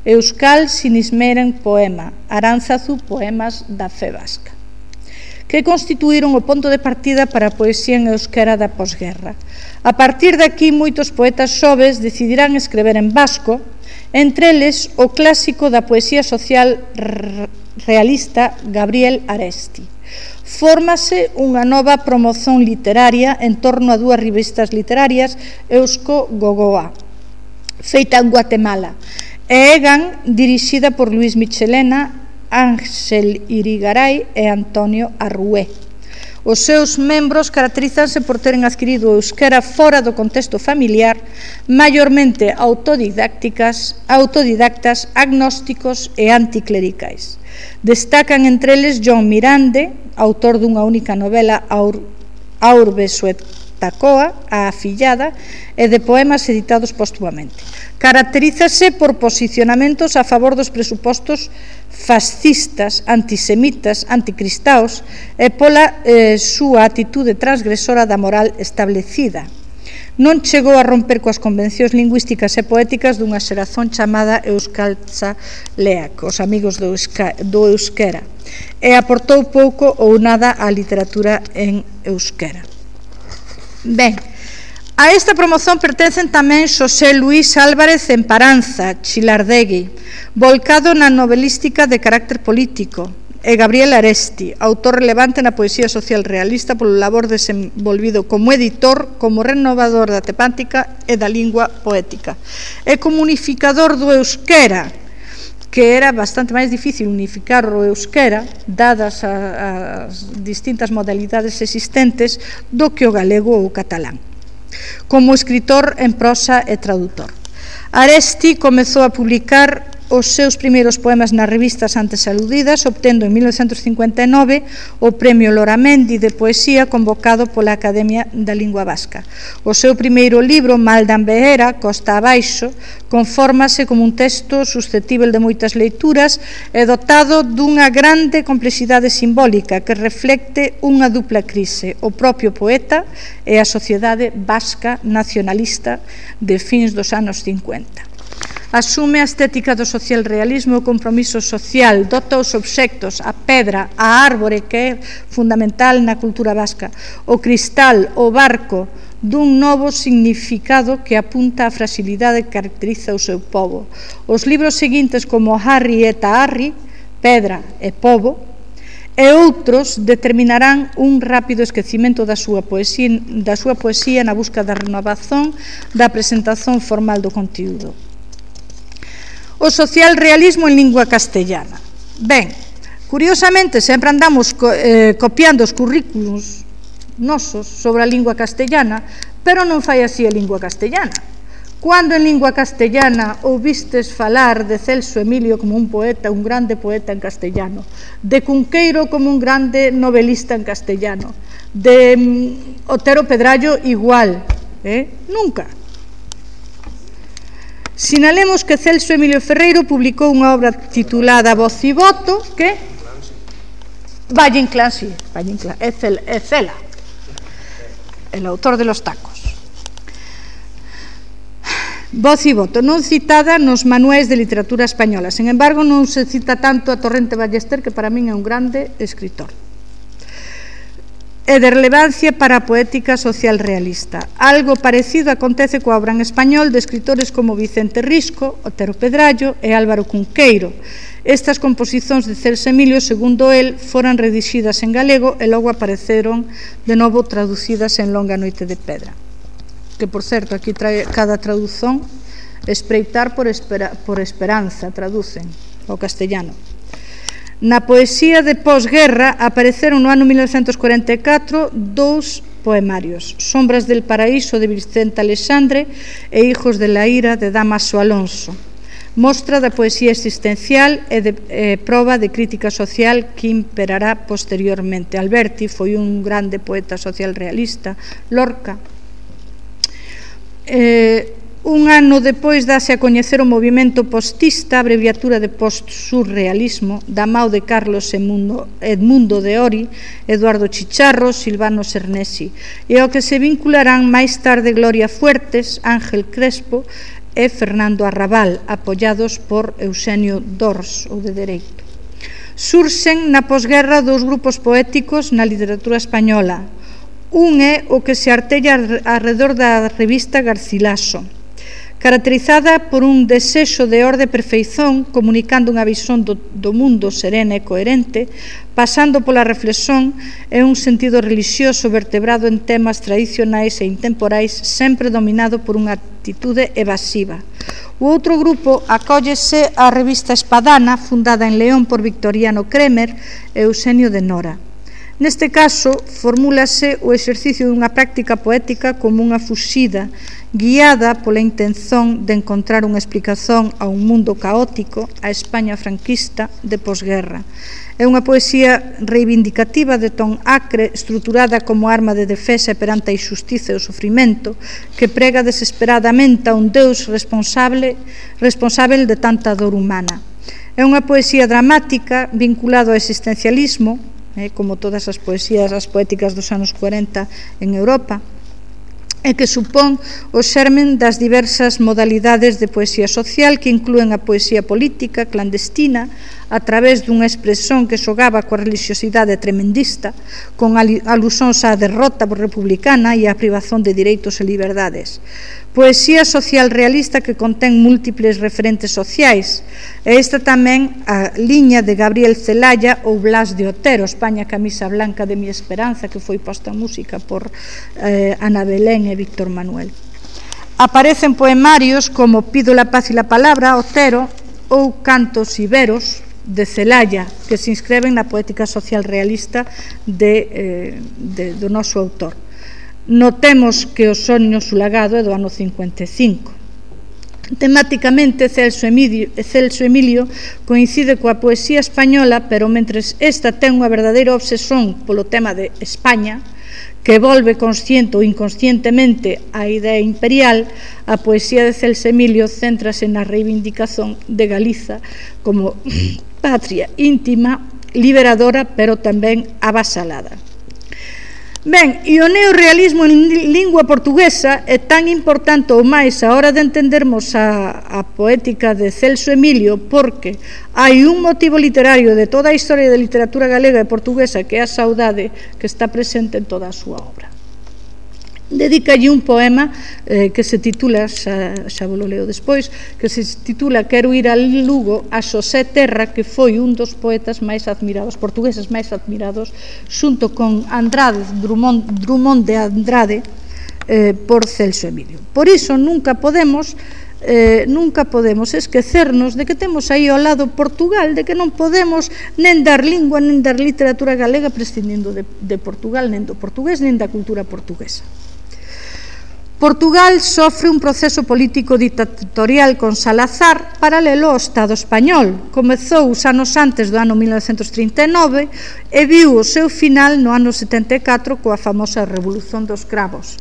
Euskal Sinismeren Poema, Aránzazu, Poemas da Fe Vasca, que constituíron o ponto de partida para a poesía en euskera da posguerra. A partir de aquí, moitos poetas xoves decidirán escrever en vasco, entre eles o clásico da poesía social realista Gabriel Aresti. Fórmase unha nova promoción literaria en torno a dúas revistas literarias, Eusko Gogoa, feita en Guatemala, e Egan, dirixida por Luis Michelena, Ángel Irigaray e Antonio Arrué. Os seus membros caracterízanse por teren adquirido o euskera fora do contexto familiar, maiormente autodidácticas, autodidactas, agnósticos e anticlericais. Destacan entre eles John Mirande, autor dunha única novela, Aur, Aurbe Suetacoa, a afillada, e de poemas editados póstumamente. Caracterízase por posicionamentos a favor dos presupostos fascistas, antisemitas, anticristaos e pola eh, súa actitude transgresora da moral establecida. Non chegou a romper coas convencións lingüísticas e poéticas dunha xeración chamada Euskaltzaleak, os amigos do, euska, do euskera, e aportou pouco ou nada á literatura en euskera. Ben, a esta promoción pertencen tamén Xosé Luis Álvarez Emparanza, Chilardegui, volcado na novelística de carácter político, e Gabriel Aresti, autor relevante na poesía social realista polo labor desenvolvido como editor, como renovador da temática e da lingua poética, e como unificador do euskera, que era bastante máis difícil unificar o euskera, dadas as distintas modalidades existentes, do que o galego ou o catalán. Como escritor en prosa e tradutor. Aresti comezou a publicar os seus primeiros poemas nas revistas antes aludidas, obtendo en mil novecentos cincuenta e nove o Premio Loramendi de Poesía convocado pola Academia da Lingua Vasca. O seu primeiro libro, Maldan Behera, Costa Abaixo, confórmase como un texto suscetível de moitas leituras e dotado dunha grande complexidade simbólica que reflecte unha dupla crise, o propio poeta e a sociedade vasca nacionalista de fins dos anos cincuenta. Asume a estética do social realismo e o compromiso social, dota os obxectos, a pedra, a árbore, que é fundamental na cultura vasca, o cristal, o barco, dun novo significado que apunta á fragilidade que caracteriza o seu pobo. Os libros seguintes, como Harry e Taarri, Pedra e Pobo, e outros determinarán un rápido esquecimento da súa poesía, da súa poesía na busca da renovación da presentación formal do contiúdo. O social realismo en lingua castellana. Ben, curiosamente, sempre andamos co, eh, copiando os currículos nosos sobre a lingua castellana, pero non fai así a lingua castellana. Cando en lingua castellana ouvistes falar de Celso Emilio como un poeta, un grande poeta en castellano, de Cunqueiro como un grande novelista en castellano, de mm, Otero Pedrallo igual, eh? Nunca. Sinalemos que Celso Emilio Ferreiro publicou unha obra titulada Voz e Voto, que Valle Inclán, sí, Valle Inclán, é Cela, el autor de Los Tacos. Voz e Voto, non citada nos manuais de literatura española, sen embargo non se cita tanto a Torrente Ballester, que para min é un grande escritor. E de relevancia para a poética social realista. Algo parecido acontece coa obra en español de escritores como Vicente Risco, Otero Pedrallo e Álvaro Cunqueiro. Estas composicións de Celso Emilio, segundo el, foran redixidas en galego e logo apareceron de novo traducidas en Longa Noite de Pedra. Que, por certo, aquí trae cada tradución, espreitar por, espera, por esperanza, traducen ao castellano. Na poesía de posguerra apareceron no ano mil novecentos cuarenta e catro dous poemarios, Sombras del Paraíso de Vicente Alexandre e Hijos de la Ira de Damaso Alonso, mostra da poesía existencial e de eh, proba de crítica social que imperará posteriormente. Alberti foi un grande poeta social realista, Lorca. Eh, Un ano depois dase a coñecer o movimento postista, abreviatura de post-surrealismo, da mao de Carlos Edmundo, Edmundo de Ori, Eduardo Chicharro, Silvano Cernesi, e ao que se vincularán máis tarde Gloria Fuertes, Ángel Crespo e Fernando Arrabal, apoiados por Eusenio Dors, ou de Dereito. Surxen na posguerra dous grupos poéticos na literatura española. Un é o que se artella arredor da revista Garcilaso, caracterizada por un desexo de orde e perfeición, comunicando unha visión do, do mundo serena e coherente, pasando pola reflexión e un sentido religioso vertebrado en temas tradicionais e intemporais, sempre dominado por unha actitude evasiva. O outro grupo acóllese á revista Espadana, fundada en León por Victoriano Kremer e Eusenio de Nora. Neste caso, formúlase o exercicio dunha práctica poética como unha fuxida, guiada pola intención de encontrar unha explicación a un mundo caótico, a España franquista de posguerra. É unha poesía reivindicativa de ton acre, estruturada como arma de defesa perante a injustiza e o sofrimento, que prega desesperadamente a un Deus responsable, responsable de tanta dor humana. É unha poesía dramática vinculada ao existencialismo, eh, como todas as poesías, as poéticas dos anos cuarenta en Europa, e que supón o xermen das diversas modalidades de poesía social que inclúen a poesía política clandestina a través dunha expresión que xogaba coa religiosidade tremendista, con alusóns á derrota republicana e á privación de direitos e liberdades. Poesía social realista que contén múltiples referentes sociais, e esta tamén a liña de Gabriel Celaya ou Blas de Otero, España camisa blanca de mi esperanza, que foi posta en música por eh, Ana Belén e Víctor Manuel. Aparecen poemarios como Pido la paz e la palabra, Otero, ou Cantos iberos, de Celaya, que se inscreven na poética social realista de, eh, de, do noso autor. Notemos que o Soño sulagado é do ano cincuenta e cinco. Temáticamente, Celso Emilio, Celso Emilio coincide coa poesía española, pero mentres esta ten unha verdadeira obsesión polo tema de España, que volve consciente ou inconscientemente a idea imperial, a poesía de Celso Emilio céntrase na reivindicación de Galiza como patria íntima, liberadora, pero tamén avasalada. Ben, e o neorrealismo en lingua portuguesa é tan importante ou máis a hora de entendermos a, a poética de Celso Emilio, porque hai un motivo literario de toda a historia da literatura galega e portuguesa, que é a saudade, que está presente en toda a súa obra. Dedícalle un poema eh, que se titula, xa, xa vos lo leo despois, que se titula Quero ir al Lugo, a Xosé Terra, que foi un dos poetas máis admirados, portugueses máis admirados, xunto con Andrade, Drummond, Drummond de Andrade, eh, por Celso Emilio. Por iso nunca podemos eh, nunca podemos esquecernos de que temos aí ao lado Portugal, de que non podemos nen dar lingua, nen dar literatura galega prescindindo de, de Portugal, nen do portugués, nen da cultura portuguesa. Portugal sofre un proceso político dictatorial con Salazar paralelo ao Estado español. Comezou os anos antes do ano mil novecentos trinta e nove e viu o seu final no ano setenta e catro coa famosa Revolución dos Cravos.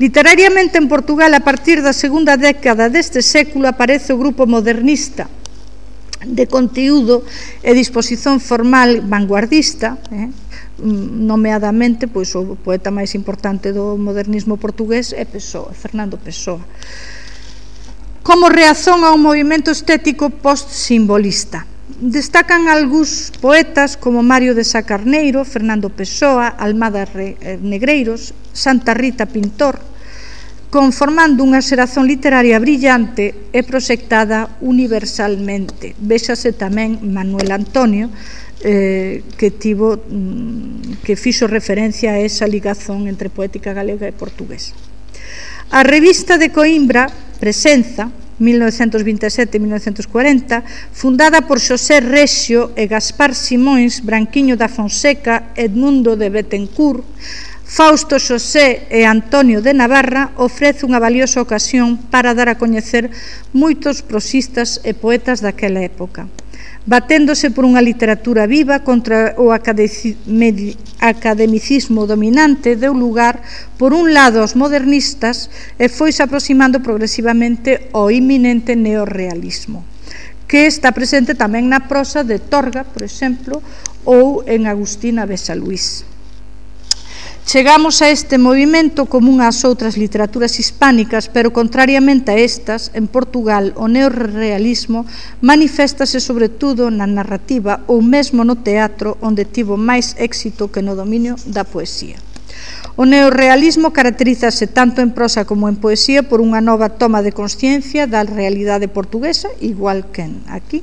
Literariamente en Portugal, a partir da segunda década deste século, aparece o grupo modernista de conteúdo e disposición formal vanguardista, eh? nomeadamente pois, o poeta máis importante do modernismo portugués é Pessoa, Fernando Pessoa, como reacción ao movimento estético post-simbolista. Destacan algúns poetas como Mario de Sá Carneiro, Fernando Pessoa, Almada Negreiros, Santa Rita Pintor, conformando unha xeración literaria brillante e proxectada universalmente. Véxase tamén Manuel Antonio, Eh, que tivo que fixo referencia a esa ligazón entre poética galega e portuguesa. A revista de Coimbra, Presenza, mil novecentos vinte e sete a mil novecentos cuarenta, fundada por Xosé Rexio e Gaspar Simóns, Branquiño da Fonseca, Edmundo de Betancourt, Fausto Xosé e Antonio de Navarra, ofrece unha valiosa ocasión para dar a coñecer moitos prosistas e poetas daquela época, baténdose por unha literatura viva contra o academicismo dominante, deu lugar, por un lado, aos modernistas e foise aproximando progresivamente ao inminente neorrealismo, que está presente tamén na prosa de Torga, por exemplo, ou en Agustina Besaluís. Chegamos a este movimento común ás outras literaturas hispánicas, pero contrariamente a estas, en Portugal o neorrealismo maniféstase sobre todo na narrativa ou mesmo no teatro, onde tivo máis éxito que no dominio da poesía. O neorrealismo caracterízase tanto en prosa como en poesía por unha nova toma de consciencia da realidade portuguesa, igual que aquí.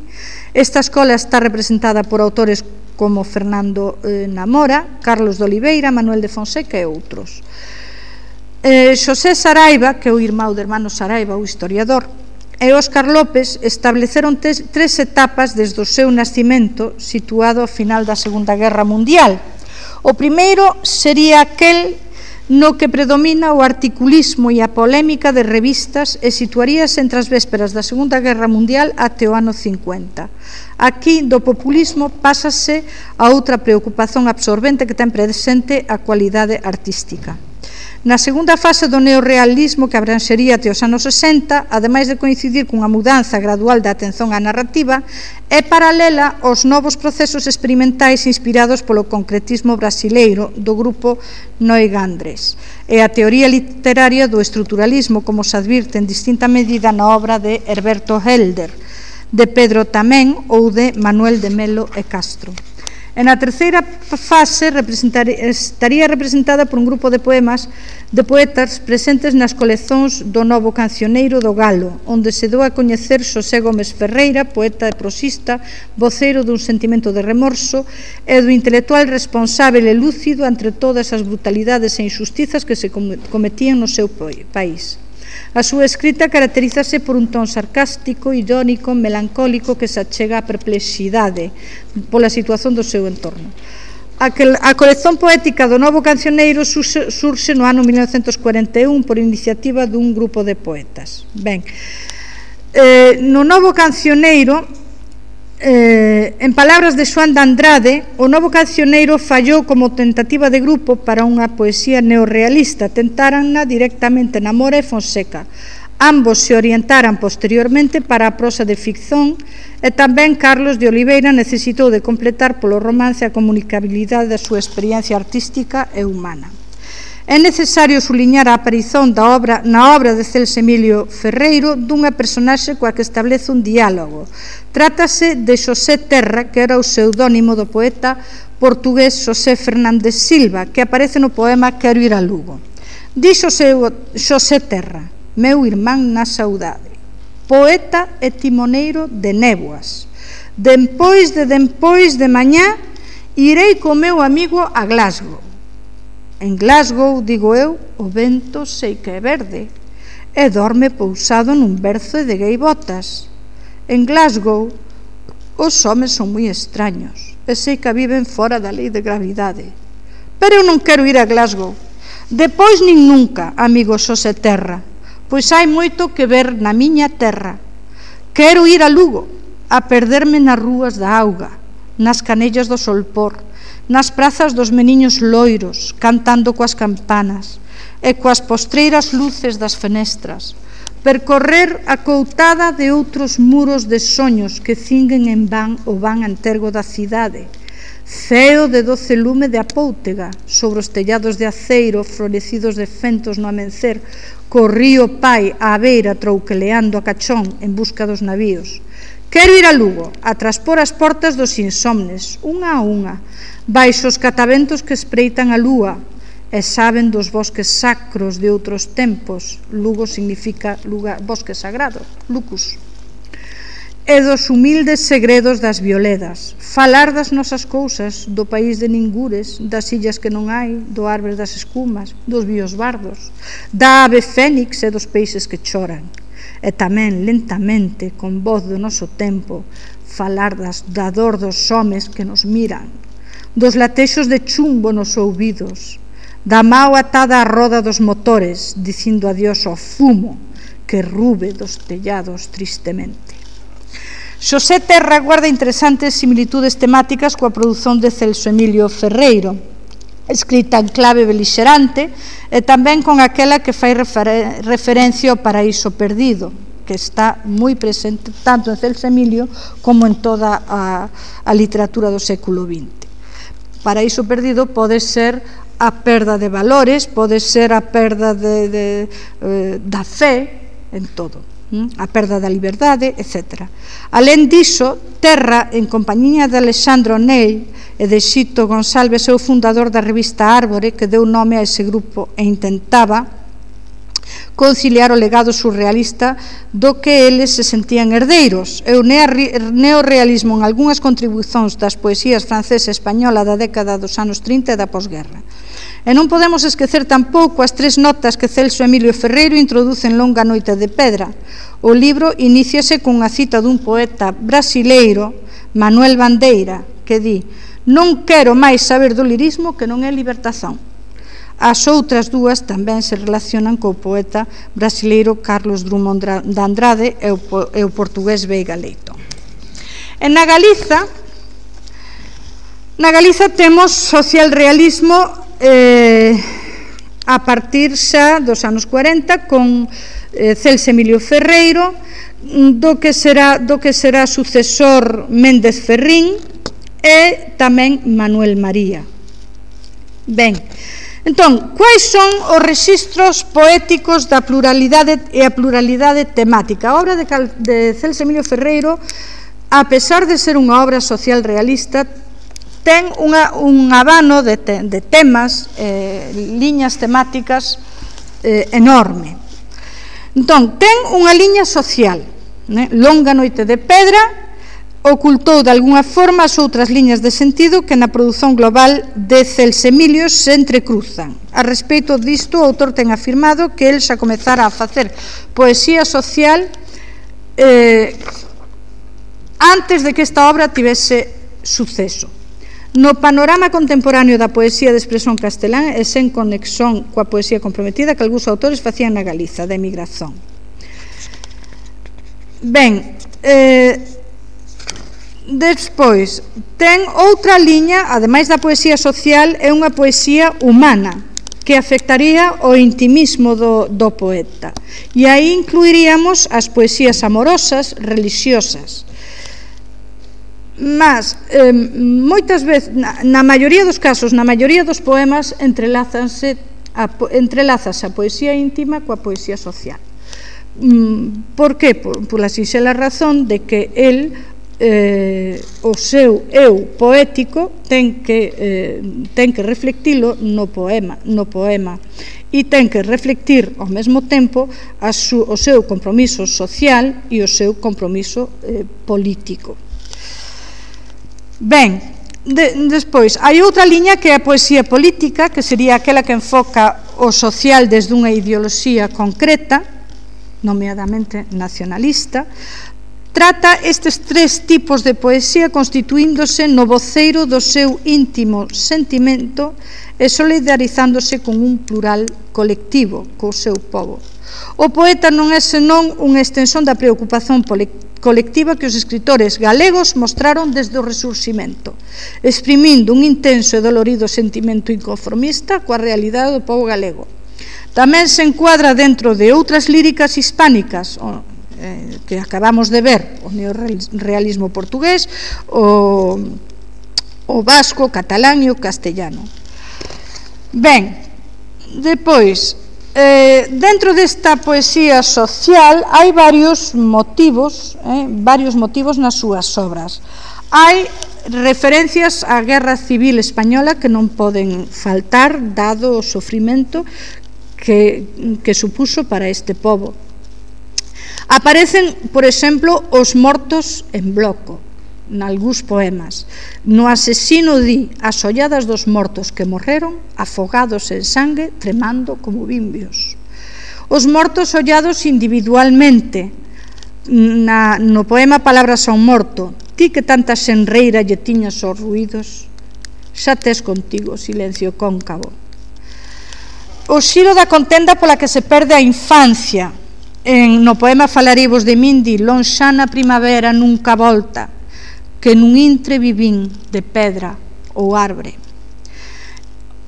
Esta escola está representada por autores como Fernando eh, Namora, Carlos de Oliveira, Manuel de Fonseca e outros. Eh, Xosé Saraiva, que é o irmão de hermano Saraiva, o historiador, e Óscar López estableceron tres, tres etapas desde o seu nascimento, situado ao final da Segunda Guerra Mundial. O primeiro sería aquel no que predomina o articulismo e a polémica de revistas e situaríase entre as vésperas da Segunda Guerra Mundial até o ano cincuenta. Aquí, do populismo, pásase a outra preocupación absorbente que ten presente a cualidade artística. Na segunda fase do neorrealismo, que abranxería até os anos sesenta, ademais de coincidir cunha mudanza gradual da atención á narrativa, é paralela aos novos procesos experimentais inspirados polo concretismo brasileiro do grupo Noigandres e a teoría literaria do estruturalismo, como se advirte en distinta medida na obra de Herberto Helder, de Pedro Tamén ou de Manuel de Melo e Castro. E na terceira fase estaría representada por un grupo de poemas de poetas presentes nas colezóns do Novo Cancioneiro do Galo, onde se dou a coñecer Xosé Gómez Ferreira, poeta e prosista, voceiro dun sentimento de remorso e do intelectual responsável e lúcido entre todas as brutalidades e injustizas que se cometían no seu país. A súa escrita caracterízase por un ton sarcástico, irónico, melancólico que se achega á perplexidade pola situación do seu entorno. A colección poética do Novo Cancioneiro surxe no ano mil novecentos cuarenta e un por iniciativa dun grupo de poetas. Ben, eh, no Novo Cancioneiro, Eh, en palabras de Xoán de Andrade, o Novo Cancioneiro fallou como tentativa de grupo para unha poesía neorrealista. Tentaranna directamente Namora e Fonseca. Ambos se orientaran posteriormente para a prosa de ficción e tamén Carlos de Oliveira necesitou de completar polo romance a comunicabilidade da súa experiencia artística e humana. É necesario suliñar a aparición da obra, na obra de Celso Emilio Ferreiro dunha personaxe coa que establece un diálogo. Trátase de Xosé Terra, que era o pseudónimo do poeta portugués Xosé Fernández Silva, que aparece no poema Quero ir a Lugo. Di Xosé, Xosé Terra: meu irmán na saudade, poeta e timoneiro de néboas. Dempois de dempois de mañá irei co meu amigo a Glasgow. En Glasgow, digo eu, o vento sei que é verde e dorme pousado nun berzo de gaivotas. En Glasgow, os homes son moi extraños e sei que viven fora da lei de gravidade. Pero eu non quero ir a Glasgow. Depois nin nunca, amigo Xosé Terra, pois hai moito que ver na miña terra. Quero ir a Lugo, a perderme nas rúas da auga, nas canellas do solpor, nas prazas dos meniños loiros, cantando coas campanas e coas postreiras luces das fenestras, percorrer a coutada de outros muros de soños que cinguen en van o van antergo da cidade, ceo de doce lume de apóutega sobre os tellados de aceiro florecidos de fentos no amencer, co río Pai á beira trouqueleando a cachón en busca dos navíos. Quero ir a Lugo, a traspor as portas dos insomnes, unha a unha, baixo os cataventos que espreitan a lúa e saben dos bosques sacros de outros tempos. Lugo significa lugar, bosque sagrado, lucus. E dos humildes segredos das violedas, falar das nosas cousas, do país de ningures, das illas que non hai, do árbol das escumas, dos biosbardos, da ave fénix e dos peixes que choran. E tamén, lentamente, con voz do noso tempo, falar das, da dor dos homes que nos miran, dos latexos de chumbo nos ouvidos, da mao atada á roda dos motores, dicindo adiós ao fumo que rube dos tellados tristemente. Xosé Terra guarda interesantes similitudes temáticas coa produción de Celso Emilio Ferreiro, escrita en clave belixerante, e tamén con aquela que fai refer referencia ao Paraíso Perdido, que está moi presente tanto en Celso Emilio como en toda a, a literatura do século vinte. Paraíso Perdido pode ser a perda de valores, pode ser a perda de, de, eh, da fe en todo, a perda da liberdade, etcétera. Alén diso, Terra, en compañía de Alexandre O'Neill e de Xito Gonçalves, é o fundador da revista Árbore, que deu nome a ese grupo e intentaba conciliar o legado surrealista do que eles se sentían herdeiros e o neorrealismo en algunhas contribucións das poesías francesa e española da década dos anos trinta e da posguerra. E non podemos esquecer tampouco as tres notas que Celso Emilio Ferreiro introduce en Longa noite de pedra. O libro iníciase cunha cita dun poeta brasileiro, Manuel Bandeira, que di: non quero máis saber do lirismo que non é libertación. As outras dúas tamén se relacionan co poeta brasileiro Carlos Drummond de Andrade e o, e o portugués Veiga Leitón. E na Galiza, na Galiza temos socialrealismo eh, a partir xa dos anos cuarenta con eh, Celso Emilio Ferreiro, do que será, do que será sucesor Méndez Ferrín e tamén Manuel María. Ben, entón, quais son os rexistros poéticos da pluralidade e a pluralidade temática? A obra de, de Celso Emilio Ferreiro, a pesar de ser unha obra social realista, ten unha, un abano de, te, de temas, eh, liñas temáticas eh, enorme. Entón, ten unha liña social, né? Longa noite de pedra ocultou de algunha forma as outras liñas de sentido que na produción global de Celso Emilio se entrecruzan. A respecto disto, o autor ten afirmado que el xa comezara a facer poesía social eh, antes de que esta obra tivese suceso. No panorama contemporáneo da poesía de expresión castelán e sen conexión coa poesía comprometida que algúns autores facían na Galiza, da emigración. Ben, eh, despois, ten outra liña, ademais da poesía social, é unha poesía humana, que afectaría o intimismo do, do poeta. E aí incluiríamos as poesías amorosas, religiosas. Mas, eh, moitas veces, na, na maioría dos casos, na maioría dos poemas, entrelázanse a, entrelázase a poesía íntima coa poesía social. Mm, por que? Por, por a sinxela razón de que el Eh, o seu eu poético ten que, eh, ten que reflectilo no poema, no poema e ten que reflectir ao mesmo tempo a su, o seu compromiso social e o seu compromiso eh, político. Ben, de, despois, hai outra liña que é a poesía política, que sería aquela que enfoca o social desde unha ideoloxía concreta, nomeadamente nacionalista. Trata estes tres tipos de poesía constituíndose no voceiro do seu íntimo sentimento e solidarizándose con un plural colectivo, co seu povo. O poeta non é senón unha extensión da preocupación colectiva que os escritores galegos mostraron desde o Resurximento, exprimindo un intenso e dolorido sentimento inconformista coa realidade do povo galego. Tamén se encuadra dentro de outras líricas hispánicas, que acabamos de ver, o neorrealismo portugués, o, o vasco, o catalán e o castellano. Ben, depois, eh, dentro desta poesía social hai varios motivos, eh, varios motivos nas súas obras. Hai referencias á Guerra Civil Española que non poden faltar, dado o sofrimento que, que supuso para este pobo. Aparecen, por exemplo, os mortos en bloco, nalgúns poemas. No asesino di as olladas dos mortos que morreron, afogados en sangue, tremando como bimbios. Os mortos ollados individualmente, na, no poema Palabras a un morto, ti que tanta xenreira lle tiñas aos ruídos, xa tes contigo silencio cóncavo. O xiro da contenda pola que se perde a infancia. En, no poema Falarivos de Mindi, lonxana primavera nunca volta, que nun intre vivín de pedra ou arbre.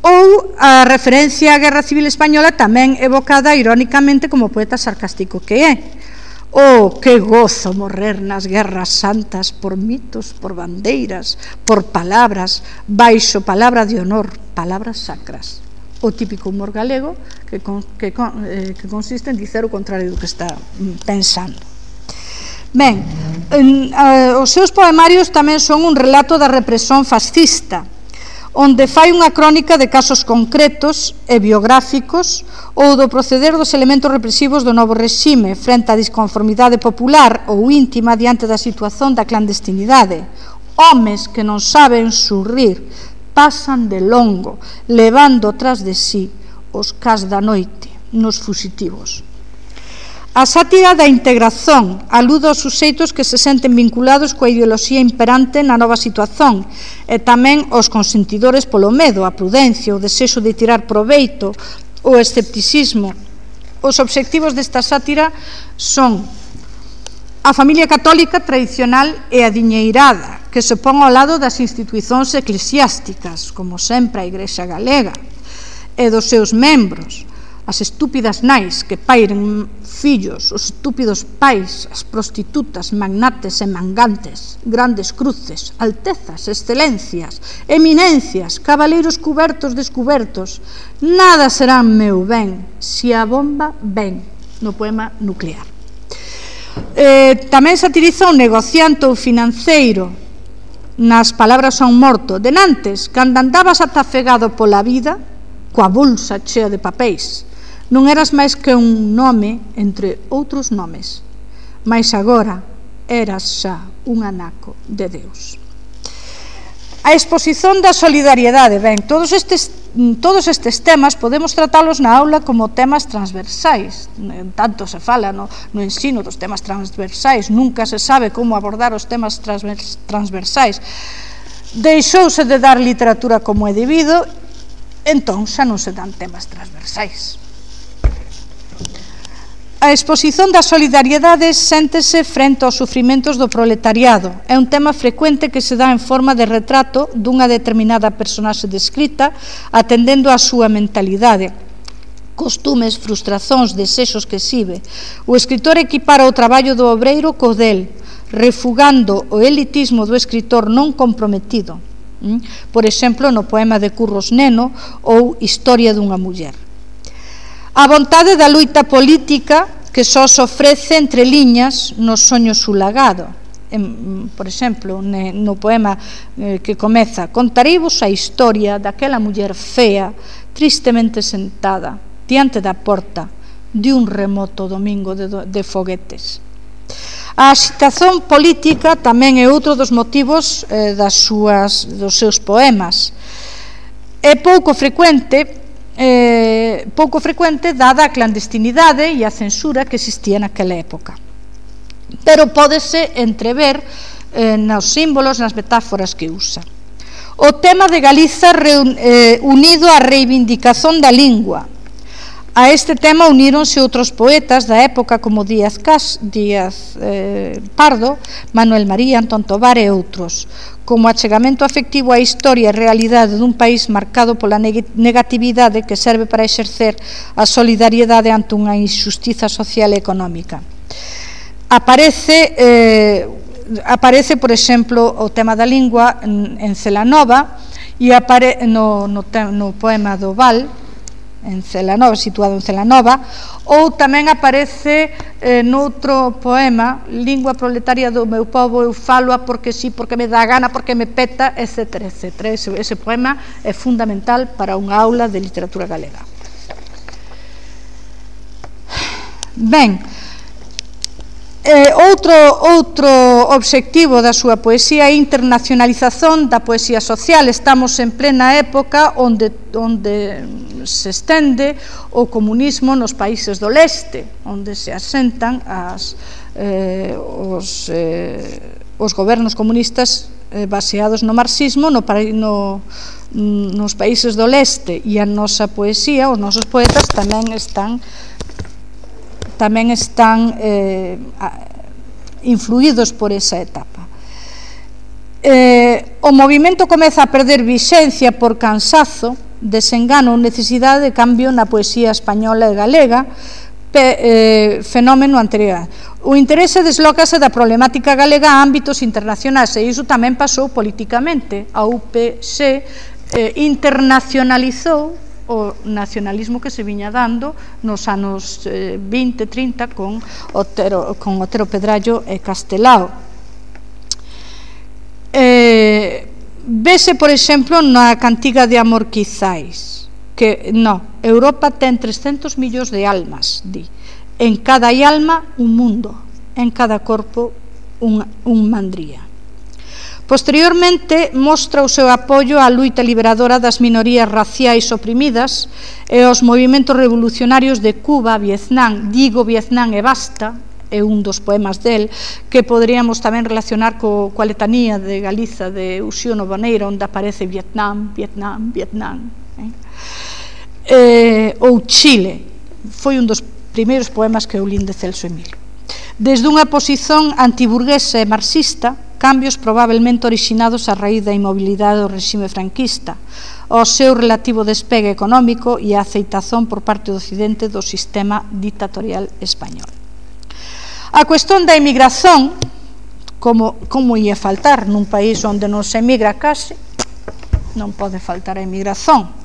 Ou a referencia á Guerra Civil Española tamén evocada irónicamente como poeta sarcástico que é. Oh, que gozo morrer nas guerras santas por mitos, por bandeiras, por palabras, baixo palabra de honor, palabras sacras. o típico humor galego que, con, que, eh, que consiste en dicer o contrario do que está pensando. Ben, en, eh, os seus poemarios tamén son un relato da represión fascista, onde fai unha crónica de casos concretos e biográficos ou do proceder dos elementos represivos do novo regime frente á disconformidade popular ou íntima diante da situación da clandestinidade. Homes que non saben xurrir pasan de longo, levando tras de sí os cas da noite nos fuxitivos. A sátira da integración alude aos suxeitos que se senten vinculados coa ideoloxía imperante na nova situación e tamén aos consentidores polo medo, a prudencia, o desexo de tirar proveito, o escepticismo. Os obxectivos desta sátira son a familia católica tradicional e adiñeirada, que se pon ao lado das institucións eclesiásticas, como sempre a Igrexa Galega, e dos seus membros, as estúpidas nais que pairen fillos, os estúpidos pais, as prostitutas, magnates e mangantes, grandes cruces, altezas, excelencias, eminencias, cabaleiros cubertos descubertos, nada serán meu ben, si a bomba ven, no poema Nuclear. Eh, tamén satiriza o negociante ou financeiro, nas palabras son morto, denantes, cando andabas atafegado pola vida, coa bolsa chea de papéis, non eras máis que un nome entre outros nomes, mas agora eras xa un anaco de Deus. A exposición da solidariedade, ben, todos estes, todos estes temas podemos tratalos na aula como temas transversais, tanto se fala no, no ensino dos temas transversais, nunca se sabe como abordar os temas transvers, transversais. Deixouse de dar literatura como é debido, entón xa non se dan temas transversais. A exposición da solidariedade séntese frente aos sufrimentos do proletariado. É un tema frecuente que se dá en forma de retrato dunha determinada personaxe descrita, atendendo á súa mentalidade, costumes, frustracións, desexos que exhibe. O escritor equipara o traballo do obreiro co del, refugando o elitismo do escritor non comprometido. Por exemplo, no poema de Curros Neno ou Historia dunha muller. A vontade da luita política que só se ofrece entre liñas no soño sulagado. Por exemplo, no poema que comeza: contareivos a historia daquela muller fea, tristemente sentada diante da porta de un remoto domingo de, de foguetes. A agitación política tamén é outro dos motivos eh, das súas, dos seus poemas. É pouco frecuente Eh, pouco frecuente dada a clandestinidade e a censura que existía naquela época, pero pódese entrever eh, nos símbolos, nas metáforas que usa. O tema de Galiza reun, eh, unido á reivindicación da lingua. A este tema uníronse outros poetas da época como Díaz, Cas, Díaz eh, Pardo, Manuel María, Antón Tovar e outros, como achegamento afectivo á historia e realidade dun país marcado pola negatividade que serve para exercer a solidariedade ante unha injustiza social e económica. Aparece, eh, aparece por exemplo, o tema da lingua en Celanova e apare, no, no, no poema do Val, en Celanova, situado en Celanova, ou tamén aparece eh, noutro poema, Lingua proletaria do meu povo, eu falo-a porque sí, porque me dá gana, porque me peta, etcétera, etcétera. Ese, ese poema é fundamental para unha aula de literatura galega. Ben, Eh, outro, outro obxectivo da súa poesía é a internacionalización da poesía social. Estamos en plena época onde, onde se estende o comunismo nos países do leste, onde se asentan as, eh, os, eh, os gobernos comunistas eh, baseados no marxismo no, no, nos países do leste, e a nosa poesía, os nosos poetas tamén están tamén están eh, influídos por esa etapa. Eh, o movimento comeza a perder vixencia por cansazo, desengano ou necesidade de cambio na poesía española e galega, pe, eh, fenómeno anterior. O interese deslócase da problemática galega a ámbitos internacionais, e iso tamén pasou políticamente. A U P C eh, internacionalizou o nacionalismo que se viña dando nos anos vinte, trinta con Otero, con Otero Pedrallo e Castelao. Eh, vese, por exemplo, na cantiga de Amor Quizais, que, no, Europa ten trescentos millóns de almas, di. En cada alma un mundo, en cada corpo un, un mandría. Posteriormente, mostra o seu apoio á luita liberadora das minorías raciais oprimidas e aos movimentos revolucionarios de Cuba, Vietnam, digo Vietnam e basta, é un dos poemas del, que poderíamos tamén relacionar co, coa letanía de Galiza de Uxío Boneira, onde aparece Vietnam, Vietnam, Vietnam. Eh? Eh, ou Chile, foi un dos primeiros poemas que eu lin de Celso Emilio. Desde unha posición antiburguesa e marxista, cambios probablemente originados a raíz da inmobilidade do regime franquista, ao seu relativo despegue económico e a aceitazón por parte do Occidente do sistema dictatorial español. A cuestión da emigración, como, como ia faltar nun país onde non se emigra case, non pode faltar a emigración.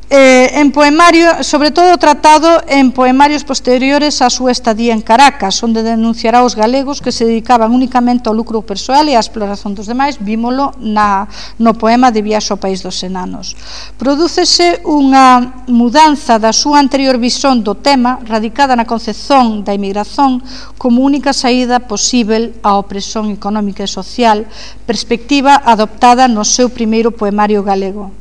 Eh, en poemario, sobre todo tratado en poemarios posteriores á súa estadía en Caracas, onde denunciará os galegos que se dedicaban únicamente ao lucro persoal e á exploración dos demais. Vímolo na, no poema de Viaxe ao País dos Enanos. Prodúcese unha mudanza da súa anterior visón do tema, radicada na concepción da emigración como única saída posível á opresión económica e social, perspectiva adoptada no seu primeiro poemario galego.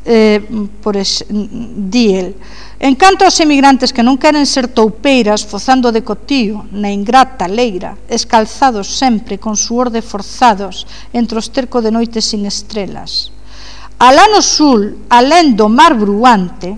Eh, por es, di el, en canto aos emigrantes que non queren ser toupeiras fozando de cotío na ingrata leira, escalzados sempre con suor de forzados entre os tercos de noites sin estrelas, alá no sul, alén do mar bruante,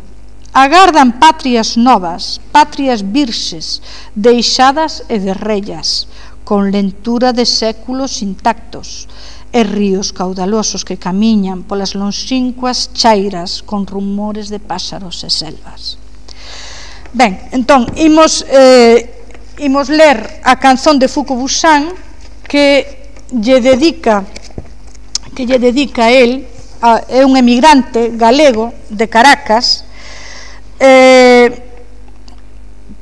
agardan patrias novas, patrias virxes, deixadas e derrellas, con lentura de séculos intactos, e ríos caudalosos que camiñan polas lonxíncuas chairas con rumores de páxaros e selvas. Ben, entón, imos, eh, imos ler a canción de Fuco Buxán que lle dedica que lle dedica a él, a, é un emigrante galego de Caracas, eh,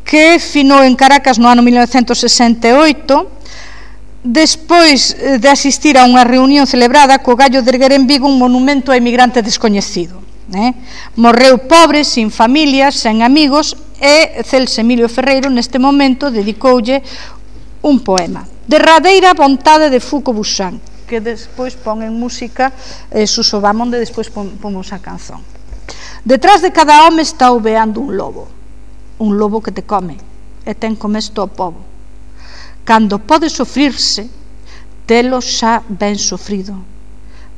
que finou en Caracas no ano mil novecentos sesenta e oito, despois de asistir a unha reunión celebrada co gallo de erguer en Vigo un monumento a emigrante descoñecido. Eh? Morreu pobre, sin familia, sen amigos, e Celso Emilio Ferreiro neste momento dedicoulle un poema, Derradeira vontade de Fuco Buxán, que despois pon en música eh, Suso Bamonde, despois pomos a canción. Detrás de cada home está ouveando un lobo, un lobo que te come e ten comesto o pobo. Cando pode sofrirse, telo xa ben sofrido,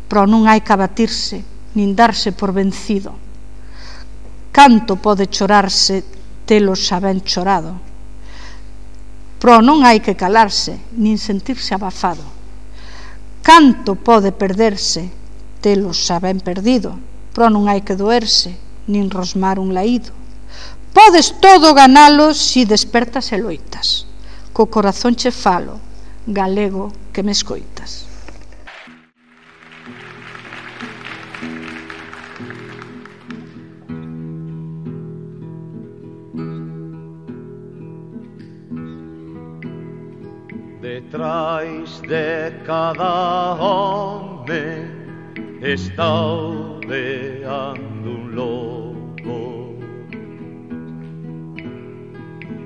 pero non hai que abatirse, nin darse por vencido. Canto pode chorarse, telo xa ben chorado, pero non hai que calarse, nin sentirse abafado. Canto pode perderse, telo xa ben perdido, pero non hai que doerse, nin rosmar un laído. Podes todo ganalo si despertas e loitas. Co corazón che falo, galego que me escoitas. Detrás de cada home está ouveando un lobo,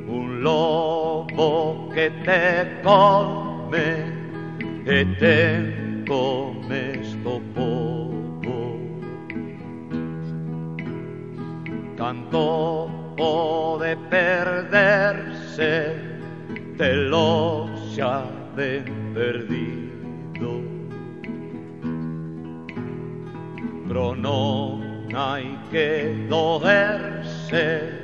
un lobo que te come e te comes do pobo. Canto pode perderse, te lo xa ben perdido, pero non hai que doerse,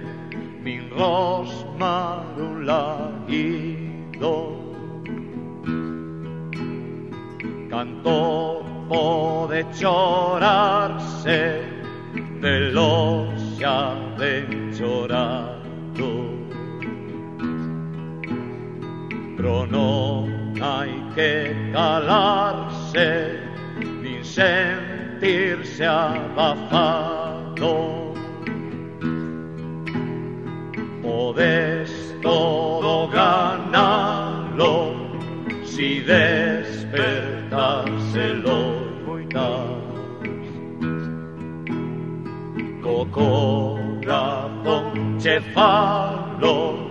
nin rosmar un laído. Canto pode chorarse, velo xa ben chorado, pero non hai que calarse, nin sentirse abafado. mató. Podes todo ganarlo si despertas el loitas. Co corazón che falo,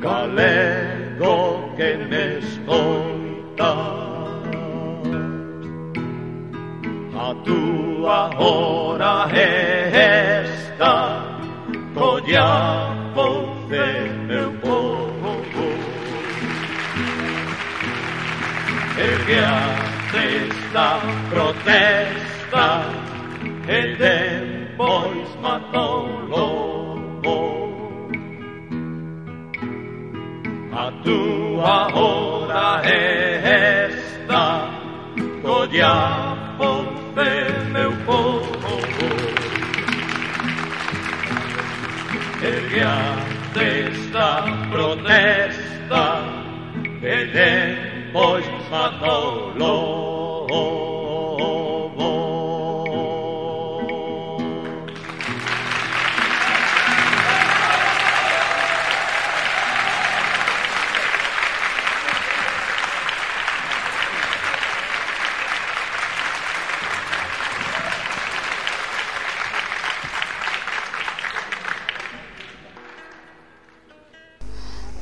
galego que me escoitas. A túa hora é esta, colla voce meu povo. Ergueaste esta protesta e depois matou-lo. A túa hora é esta, colla voce meu povo. Ergueaste esta protesta e depois matou-lo.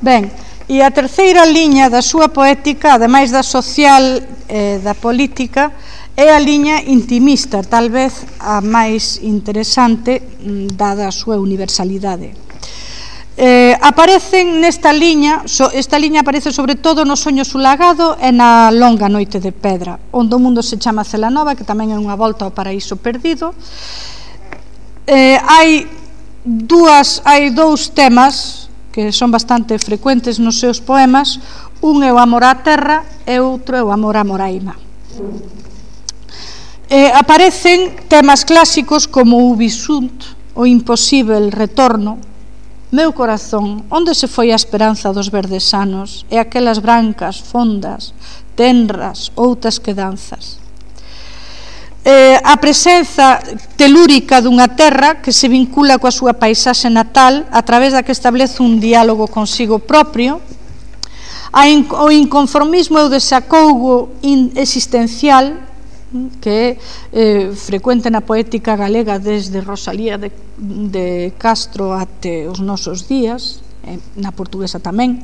Ben, e a terceira liña da súa poética, ademais da social e da política, é a liña intimista, tal vez a máis interesante, dada a súa universalidade. Eh, aparecen nesta liña, so, esta liña aparece sobre todo no Soño sulagado e na Longa noite de pedra, onde o mundo se chama Celanova, que tamén é unha volta ao paraíso perdido. Eh, hai dúas, hai dous temas que son bastante frecuentes nos seus poemas. Un é o amor á terra e outro é o amor á moraima. Eh, aparecen temas clásicos como o Ubi sunt, o imposível retorno, meu corazón, onde se foi a esperanza dos verdes sanos e aquelas brancas, fondas, tenras, outras quedanzas. Eh, a presenza telúrica dunha terra que se vincula coa súa paisaxe natal a través da que establece un diálogo consigo propio, a in, o inconformismo e o desacougo existencial que é eh, frecuente na poética galega desde Rosalía de, de Castro até os nosos días, eh, na portuguesa tamén.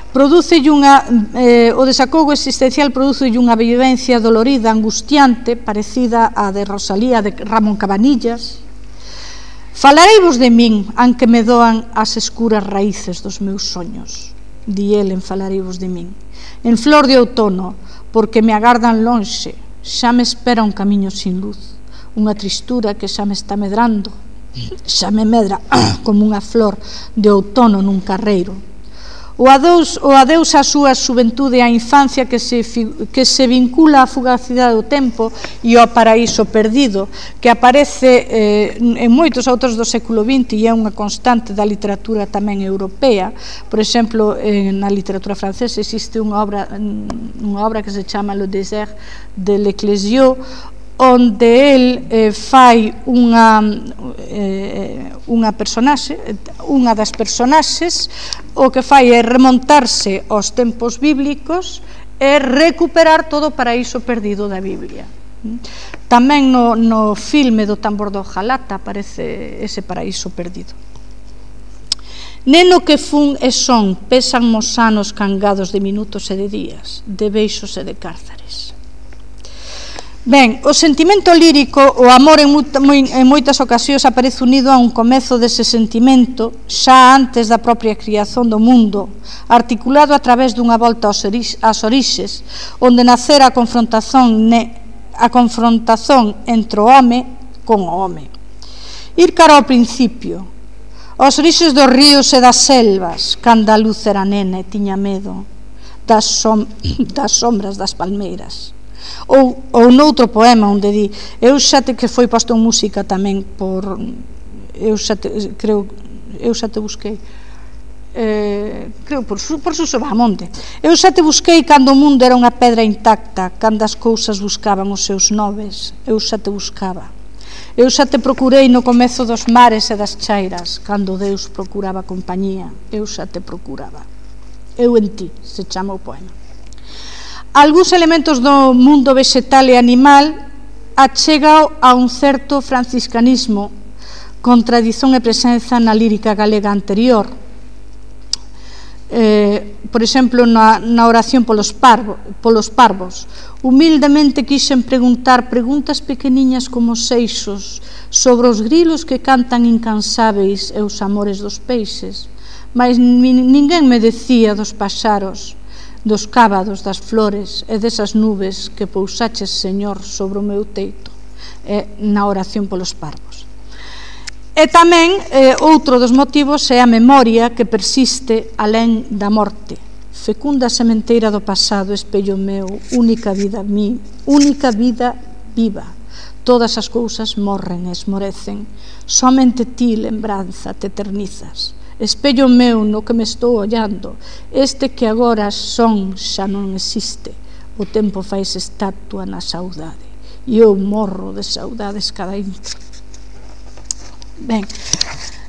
Producelle unha, eh, o desacougo existencial producelle unha vivencia dolorida, angustiante, parecida á de Rosalía de Ramón Cabanillas. Falareivos de min, aunque me doan as escuras raíces dos meus soños, di el en Falareivos de min. En flor de outono, porque me agardan lonxe, xa me espera un camiño sin luz, unha tristura que xa me está medrando, xa me medra como unha flor de outono nun carreiro. O adeus, o adeus á súa xuventude e á infancia que se, que se vincula á fugacidade do tempo e ao paraíso perdido, que aparece eh, en moitos autores do século vinte e é unha constante da literatura tamén europea. Por exemplo, eh, na literatura francesa existe unha obra, unha obra que se chama Le désert de l'Ecclésio, onde el eh, fai unha, eh, unha personaxe, unha das personaxes, o que fai é remontarse aos tempos bíblicos e recuperar todo o paraíso perdido da Biblia. Tamén no, no filme do Tambor do Jalata aparece ese paraíso perdido. Neno que fun e son, pesan mos anos cangados de minutos e de días, de beixos e de cárzares. Ben, o sentimento lírico, o amor en, en moitas ocasións aparece unido a un comezo dese sentimento xa antes da propia criación do mundo, articulado a través dunha volta aos orixes, onde nacera a confrontación, ne, a confrontación entre o home con o home. Ir cara ao principio, aos orixes dos ríos e das selvas, cando a luz era nena e tiña medo das, som, das sombras das palmeiras. Ou, ou noutro poema onde di, eu xa te, que foi posto en música tamén por, eu xa te, creo, eu xa te busquei, eh, creo por, por Suso Bahamonde, eu xa te busquei cando o mundo era unha pedra intacta, cando as cousas buscaban os seus noves, eu xa te buscaba. Eu xa te procurei no comezo dos mares e das chairas, cando Deus procuraba compañía, eu xa te procuraba. Eu en ti, se chama o poema. Algúns elementos do mundo vegetal e animal achegao a un certo franciscanismo, con tradición e presenza na lírica galega anterior. Eh, por exemplo, na, na oración polos, parvo, polos parvos, humildemente quixen preguntar preguntas pequeniñas como seixos sobre os grilos que cantan incansáveis e os amores dos peixes, mas ninguén me decía dos paxaros, dos cábados, das flores e desas nubes que pousaches, Señor, sobre o meu teito, e na oración polos parvos. E tamén, eh, outro dos motivos é a memoria que persiste alén da morte. Fecunda sementeira do pasado, espello meu, única vida mi, única vida viva. Todas as cousas morren e esmorecen, somente ti, lembranza, te eternizas. Espello meu no que me estou ollando, este que agora son xa non existe. O tempo fais estatua na saudade, e eu morro de saudades cada intro. Ben,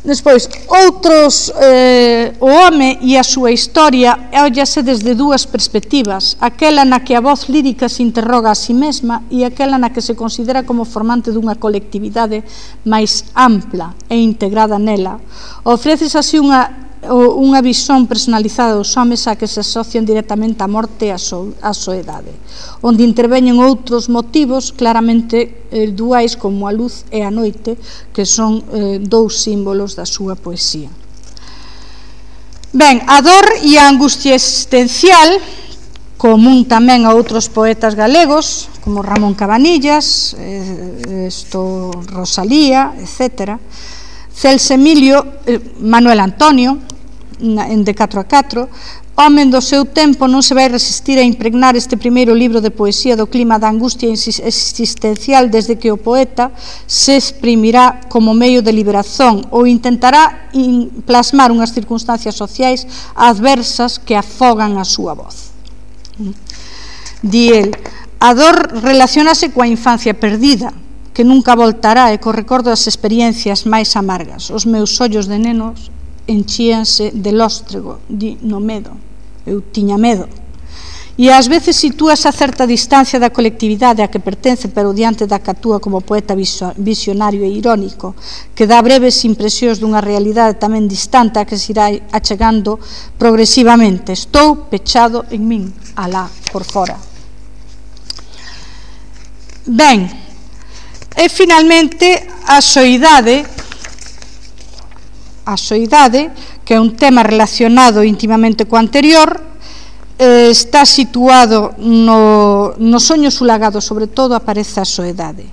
despois, outros, eh, o home e a súa historia óllase desde dúas perspectivas, aquela na que a voz lírica se interroga a si mesma e aquela na que se considera como formante dunha colectividade máis ampla e integrada nela. Ofreces así unha unha visón personalizada dos homes a que se asocian directamente a morte e a, so, a soedade, onde interveñen outros motivos claramente eh, duais como a luz e a noite, que son eh, dous símbolos da súa poesía. Ben, a dor e a angustia existencial, común tamén a outros poetas galegos, como Ramón Cabanillas, eh, esto, Rosalía, etcétera, Celso Emilio, eh, Manuel Antonio, na, en de catro a catro, home do seu tempo non se vai resistir a impregnar este primeiro libro de poesía do clima da angustia existencial desde que o poeta se exprimirá como medio de liberación ou intentará in, plasmar unhas circunstancias sociais adversas que afogan a súa voz. Di el, a dor relacionase coa infancia perdida, que nunca voltará, e co recordo das experiencias máis amargas. Os meus ollos de nenos enchíanse de lóstrego, di, no medo. Eu tiña medo. E ás veces sitúas a certa distancia da colectividade a que pertence, pero diante da que actúa como poeta visionario e irónico, que dá breves impresións dunha realidade tamén distante a que se irá achegando progresivamente. Estou pechado en min, alá, por fora. Ben, e finalmente a soidade, a soidade, que é un tema relacionado intimamente co anterior, eh, está situado no, no soño sulagado, sobre todo aparece a soedade.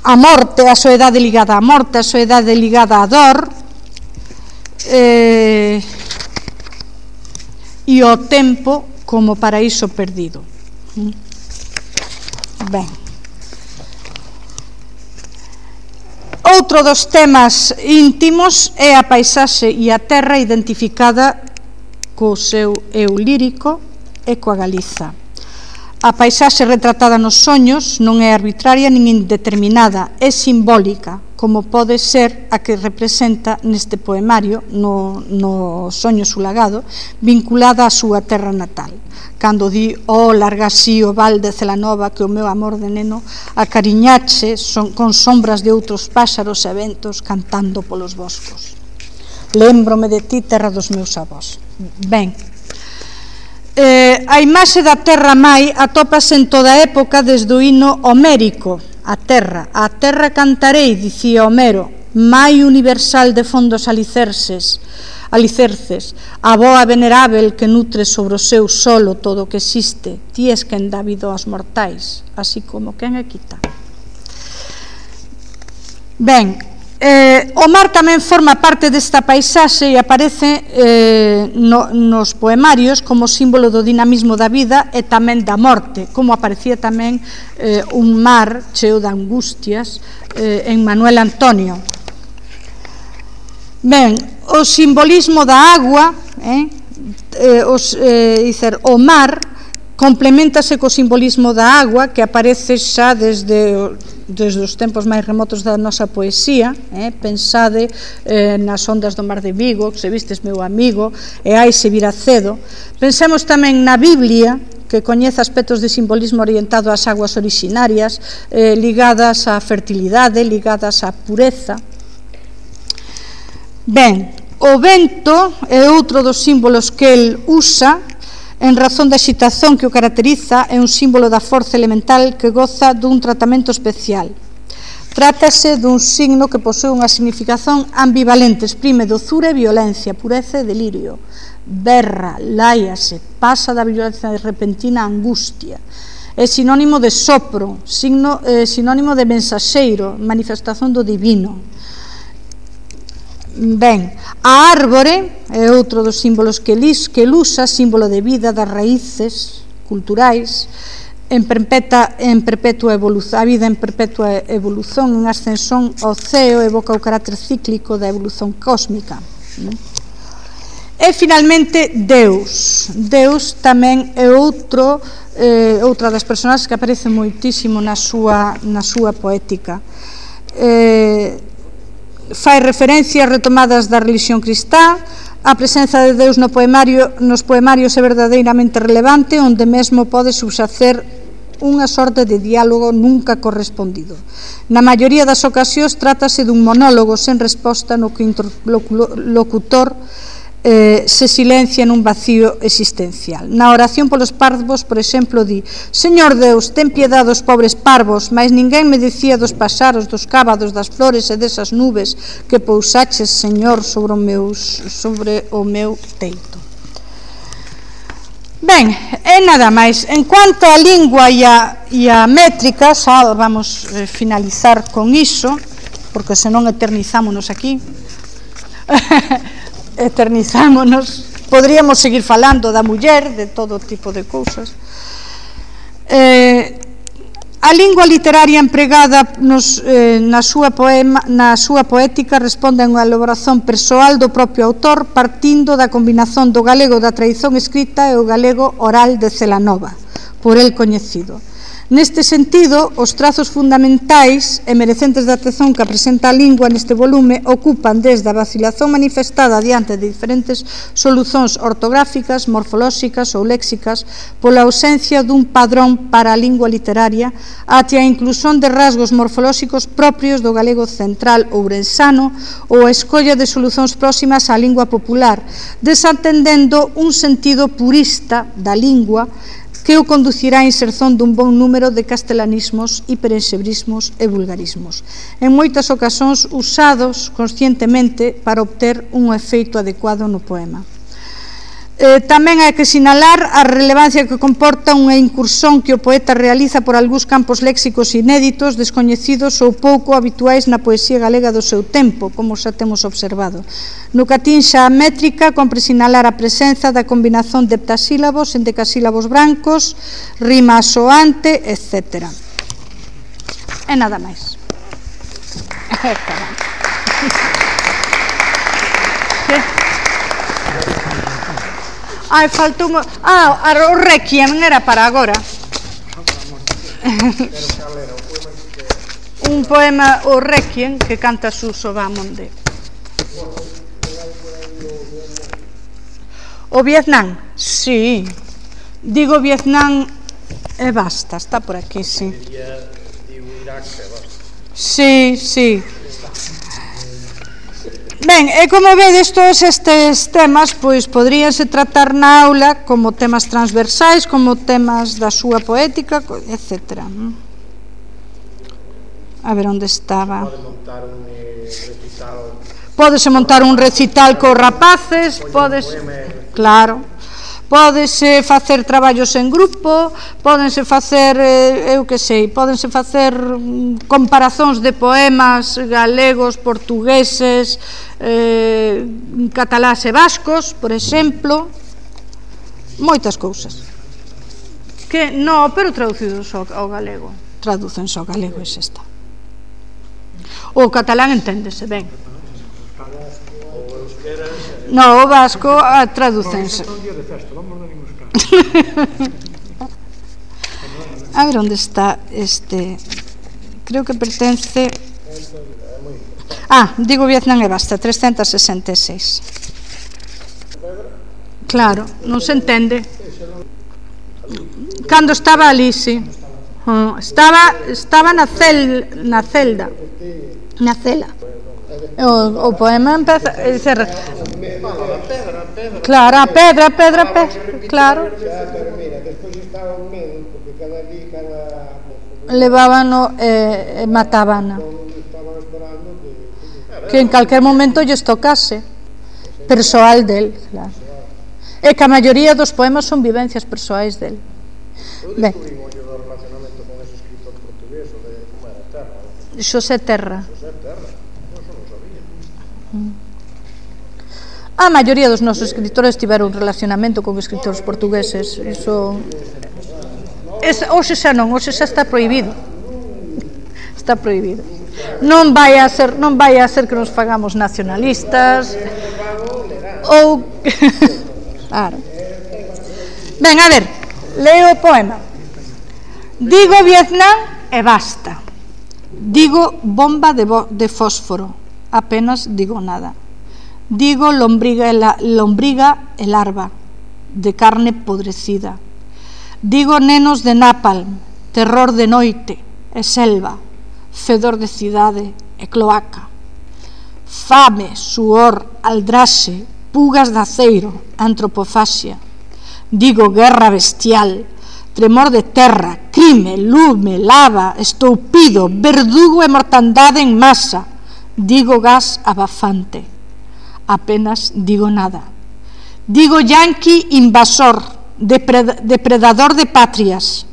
A morte, a soedade ligada á morte, a soedade ligada á dor, eh, e o tempo como paraíso perdido. Ben, outro dos temas íntimos é a paisaxe e a terra identificada co seu eu lírico e coa Galiza. A paisaxe retratada nos soños non é arbitraria nin indeterminada, é simbólica, como pode ser a que representa neste poemario, no, no Soño sulagado, vinculada á súa terra natal, cando di, oh, larga así o val de Celanova que o meu amor de neno acariñache son, con sombras de outros páxaros e ventos cantando polos boscos. Lémbrome de ti, terra dos meus avós. Ben, eh, a imaxe da terra mai atópase en toda a época desde o hino homérico. A terra, a terra cantarei, dicía Homero, mai universal de fondos alicerces, alicerces, a boa venerável que nutre sobre o seu solo todo o que existe, ti es quen dá vida aos mortais, así como quen a quita. Ben, eh, o mar tamén forma parte desta paisaxe e aparece eh, no, nos poemarios como símbolo do dinamismo da vida e tamén da morte, como aparecía tamén eh, un mar cheo de angustias eh, en Manuel Antonio. Ben, o simbolismo da agua, eh, eh, os, eh, dicer, o mar complementase co simbolismo da agua, que aparece xa desde, desde os tempos máis remotos da nosa poesía. Eh? Pensade eh, nas ondas do mar de Vigo, que se vistes meu amigo, e hai se vir acedo. Pensemos tamén na Biblia, que coñece aspectos de simbolismo orientado ás aguas orixinarias, eh, ligadas á fertilidade, ligadas á pureza. Ben, o vento é outro dos símbolos que el usa, en razón da excitación que o caracteriza, é un símbolo da forza elemental que goza dun tratamento especial. Trátase dun signo que posee unha significación ambivalente, exprime dozura e violencia, pureza e delirio, berra, láiase, pasa da violencia repentina a angustia. É sinónimo de sopro, signo, eh, sinónimo de mensaxeiro, manifestación do divino. Ben, a árbore é outro dos símbolos que el usa, símbolo de vida, das raíces culturais, en perpetua, en perpetua evolución, a vida en perpetua evolución, en ascensión ao ceo, evoca o carácter cíclico da evolución cósmica. E finalmente Deus. Deus tamén é outro, eh, outra das personaxes que aparece moitísimo na súa, na súa poética. Eh, fai referencias retomadas da religión cristá. A presenza de Deus no poemario, nos poemarios é verdadeiramente relevante, onde mesmo pode subxacer unha sorte de diálogo nunca correspondido. Na maioría das ocasións trátase dun monólogo sen resposta no que o interlocutor eh, se silencia nun vacío existencial. Na oración polos parvos, por exemplo, di: Señor Deus, ten piedade dos pobres parvos, mais ninguén me dicía dos paxaros, dos cábados, das flores e desas nubes que pousaches, Señor, sobre o meu, sobre o meu teito. Ben, e nada máis. En cuanto á lingua e a, e a métrica, xa vamos eh, finalizar con iso, porque senón eternizámonos aquí. eternizámonos. Podríamos seguir falando da muller, de todo tipo de cousas. Eh, a lingua literaria empregada nos, eh, na, súa poema, na súa poética responde a unha elaboración persoal do propio autor, partindo da combinación do galego da tradición escrita e o galego oral de Celanova, por el coñecido. Neste sentido, os trazos fundamentais e merecentes de atención que presenta a lingua neste volume ocupan desde a vacilación manifestada diante de diferentes solucións ortográficas, morfolóxicas ou léxicas pola ausencia dun padrón para a lingua literaria até a inclusión de rasgos morfolóxicos propios do galego central ourensano ou a escolla de solucións próximas á lingua popular, desatendendo un sentido purista da lingua que o conducirá á inserción dun bon número de castelanismos, hiperensebrismos e vulgarismos, en moitas ocasións usados conscientemente para obter un efeito adecuado no poema. Eh, tamén hai que sinalar a relevancia que comporta unha incursión que o poeta realiza por algúns campos léxicos inéditos, descoñecidos ou pouco habituais na poesía galega do seu tempo, como xa temos observado. No que atinxa a métrica, compre sinalar a presenza da combinación de heptasílabos, endecasílabos brancos, rima asoante, etcétera. E nada máis. Ai, faltou... Ah, o Requiem era para agora. Un poema, o Requiem, que canta Suso Bamonde. O Vietnam, sí. Digo Vietnam e basta, está por aquí, sí. Sí, sí. Ben, e como vedes, todos estes temas pois poderíanse tratar na aula como temas transversais, como temas da súa poética, etcétera. A ver onde estaba. Pode montar un recital. Pódese montar un recital cos rapaces, podes, claro. Pódese facer traballos en grupo, pódense facer, eu que sei, pódense facer comparazóns de poemas galegos, portugueses, eh, catalás e vascos, por exemplo, moitas cousas. Que, no, pero traducidos ao, ao galego, traducense ao galego, e xa está. O catalán enténdese ben. No, o vasco traducense. a ver onde está este, creo que pertence, ah, digo Vietnam e basta, trescentos sesenta e seis. Claro, non se entende. Cando estaba ali, sí. Uh, estaba estaba na cel na celda. Na cela. O, o poema empeza a dicer, claro, a pedra, a pedra, a pedra, claro. Levábano e, e matábana. Que en calquer momento lles tocase. Persoal del, claro. E que a maioría dos poemas son vivencias persoais del. Ben. Xosé Terra. A maioría dos nosos escritores tiveron un relacionamento con escritores portugueses. Iso es, hoxe xa non, hoxe xa está prohibido. Está prohibido. Non vai a ser, non vai a ser que nos fagamos nacionalistas ou claro. Ben, a ver, leo o poema. Digo Vietnam e basta. Digo bomba de, de fósforo, apenas digo nada. Digo lombriga e, la, lombriga e larva, de carne podrecida. Digo nenos de napalm, terror de noite e selva, fedor de cidade e cloaca. Fame, suor, aldraxe, pugas de aceiro, antropofaxia. Digo guerra bestial, tremor de terra, crime, lume, lava, estoupido, verdugo e mortandade en masa. Digo gas abafante. Apenas digo nada. Digo yanqui invasor, depredador de patrias.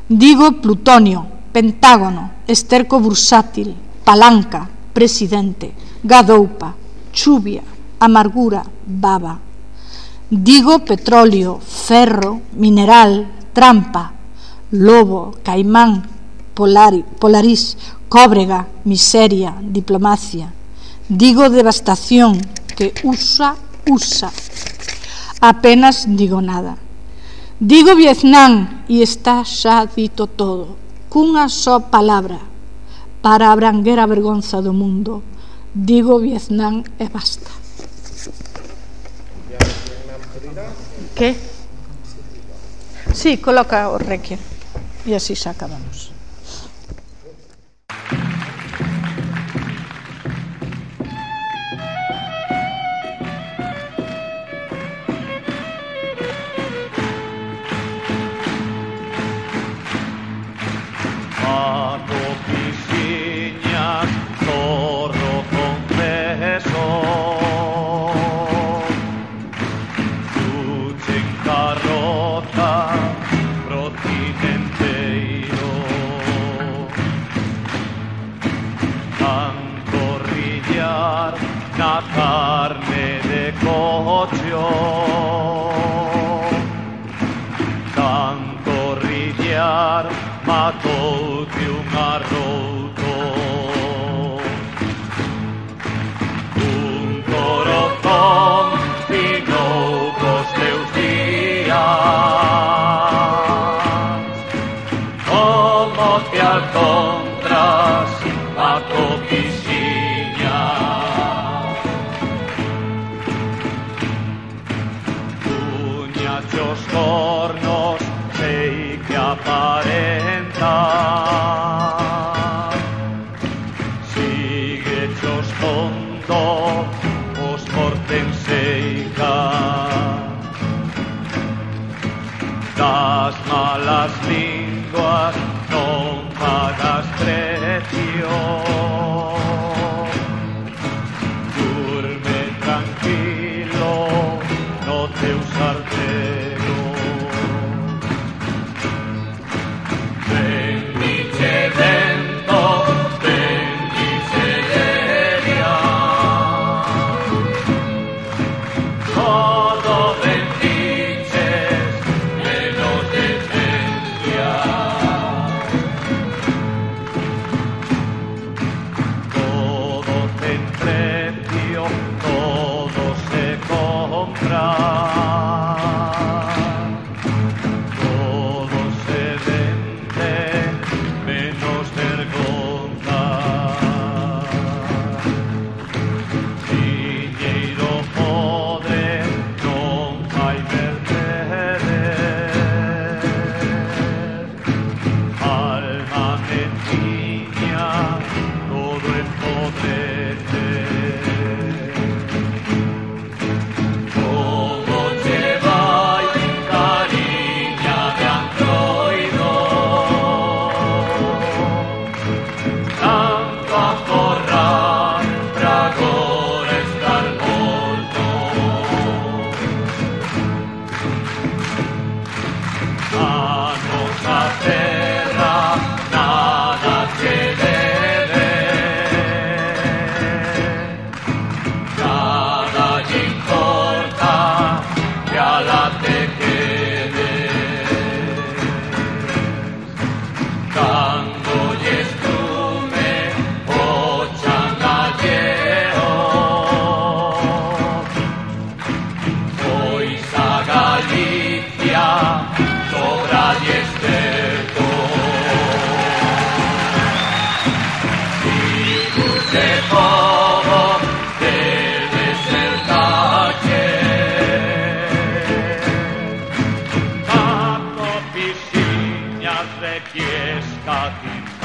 Digo plutonio, pentágono, esterco bursátil, palanca, presidente, gadoupa, chuvia, amargura, baba. Digo petróleo, ferro, mineral, trampa, lobo, caimán, polari, polarís, cóbrega, miseria, diplomacia. Digo devastación, que usa, usa. Apenas digo nada. Digo Vietnam e está xa dito todo, cunha só palabra, para abranguer a vergonza do mundo. Digo Vietnam e basta. Que? Sí, coloca o requiem e así xa acabamos. Na carne de cocho, tanto rillar matoute un arrouto, un corazón finou cos teus días, como te alcontras a copixiña. Os cornos sei que aparentan, sigue os tonto os portenseica, das malas linguas non pagas precio, durme tranquilo no teu sartén. nosa terra nada que debe, nada lle importa que a la te quede. Cando lle estrume o changalleo, pois a Galicia sobra lle esterco. Hijos de povo del desertache, Caco pisciñas de Fiesca.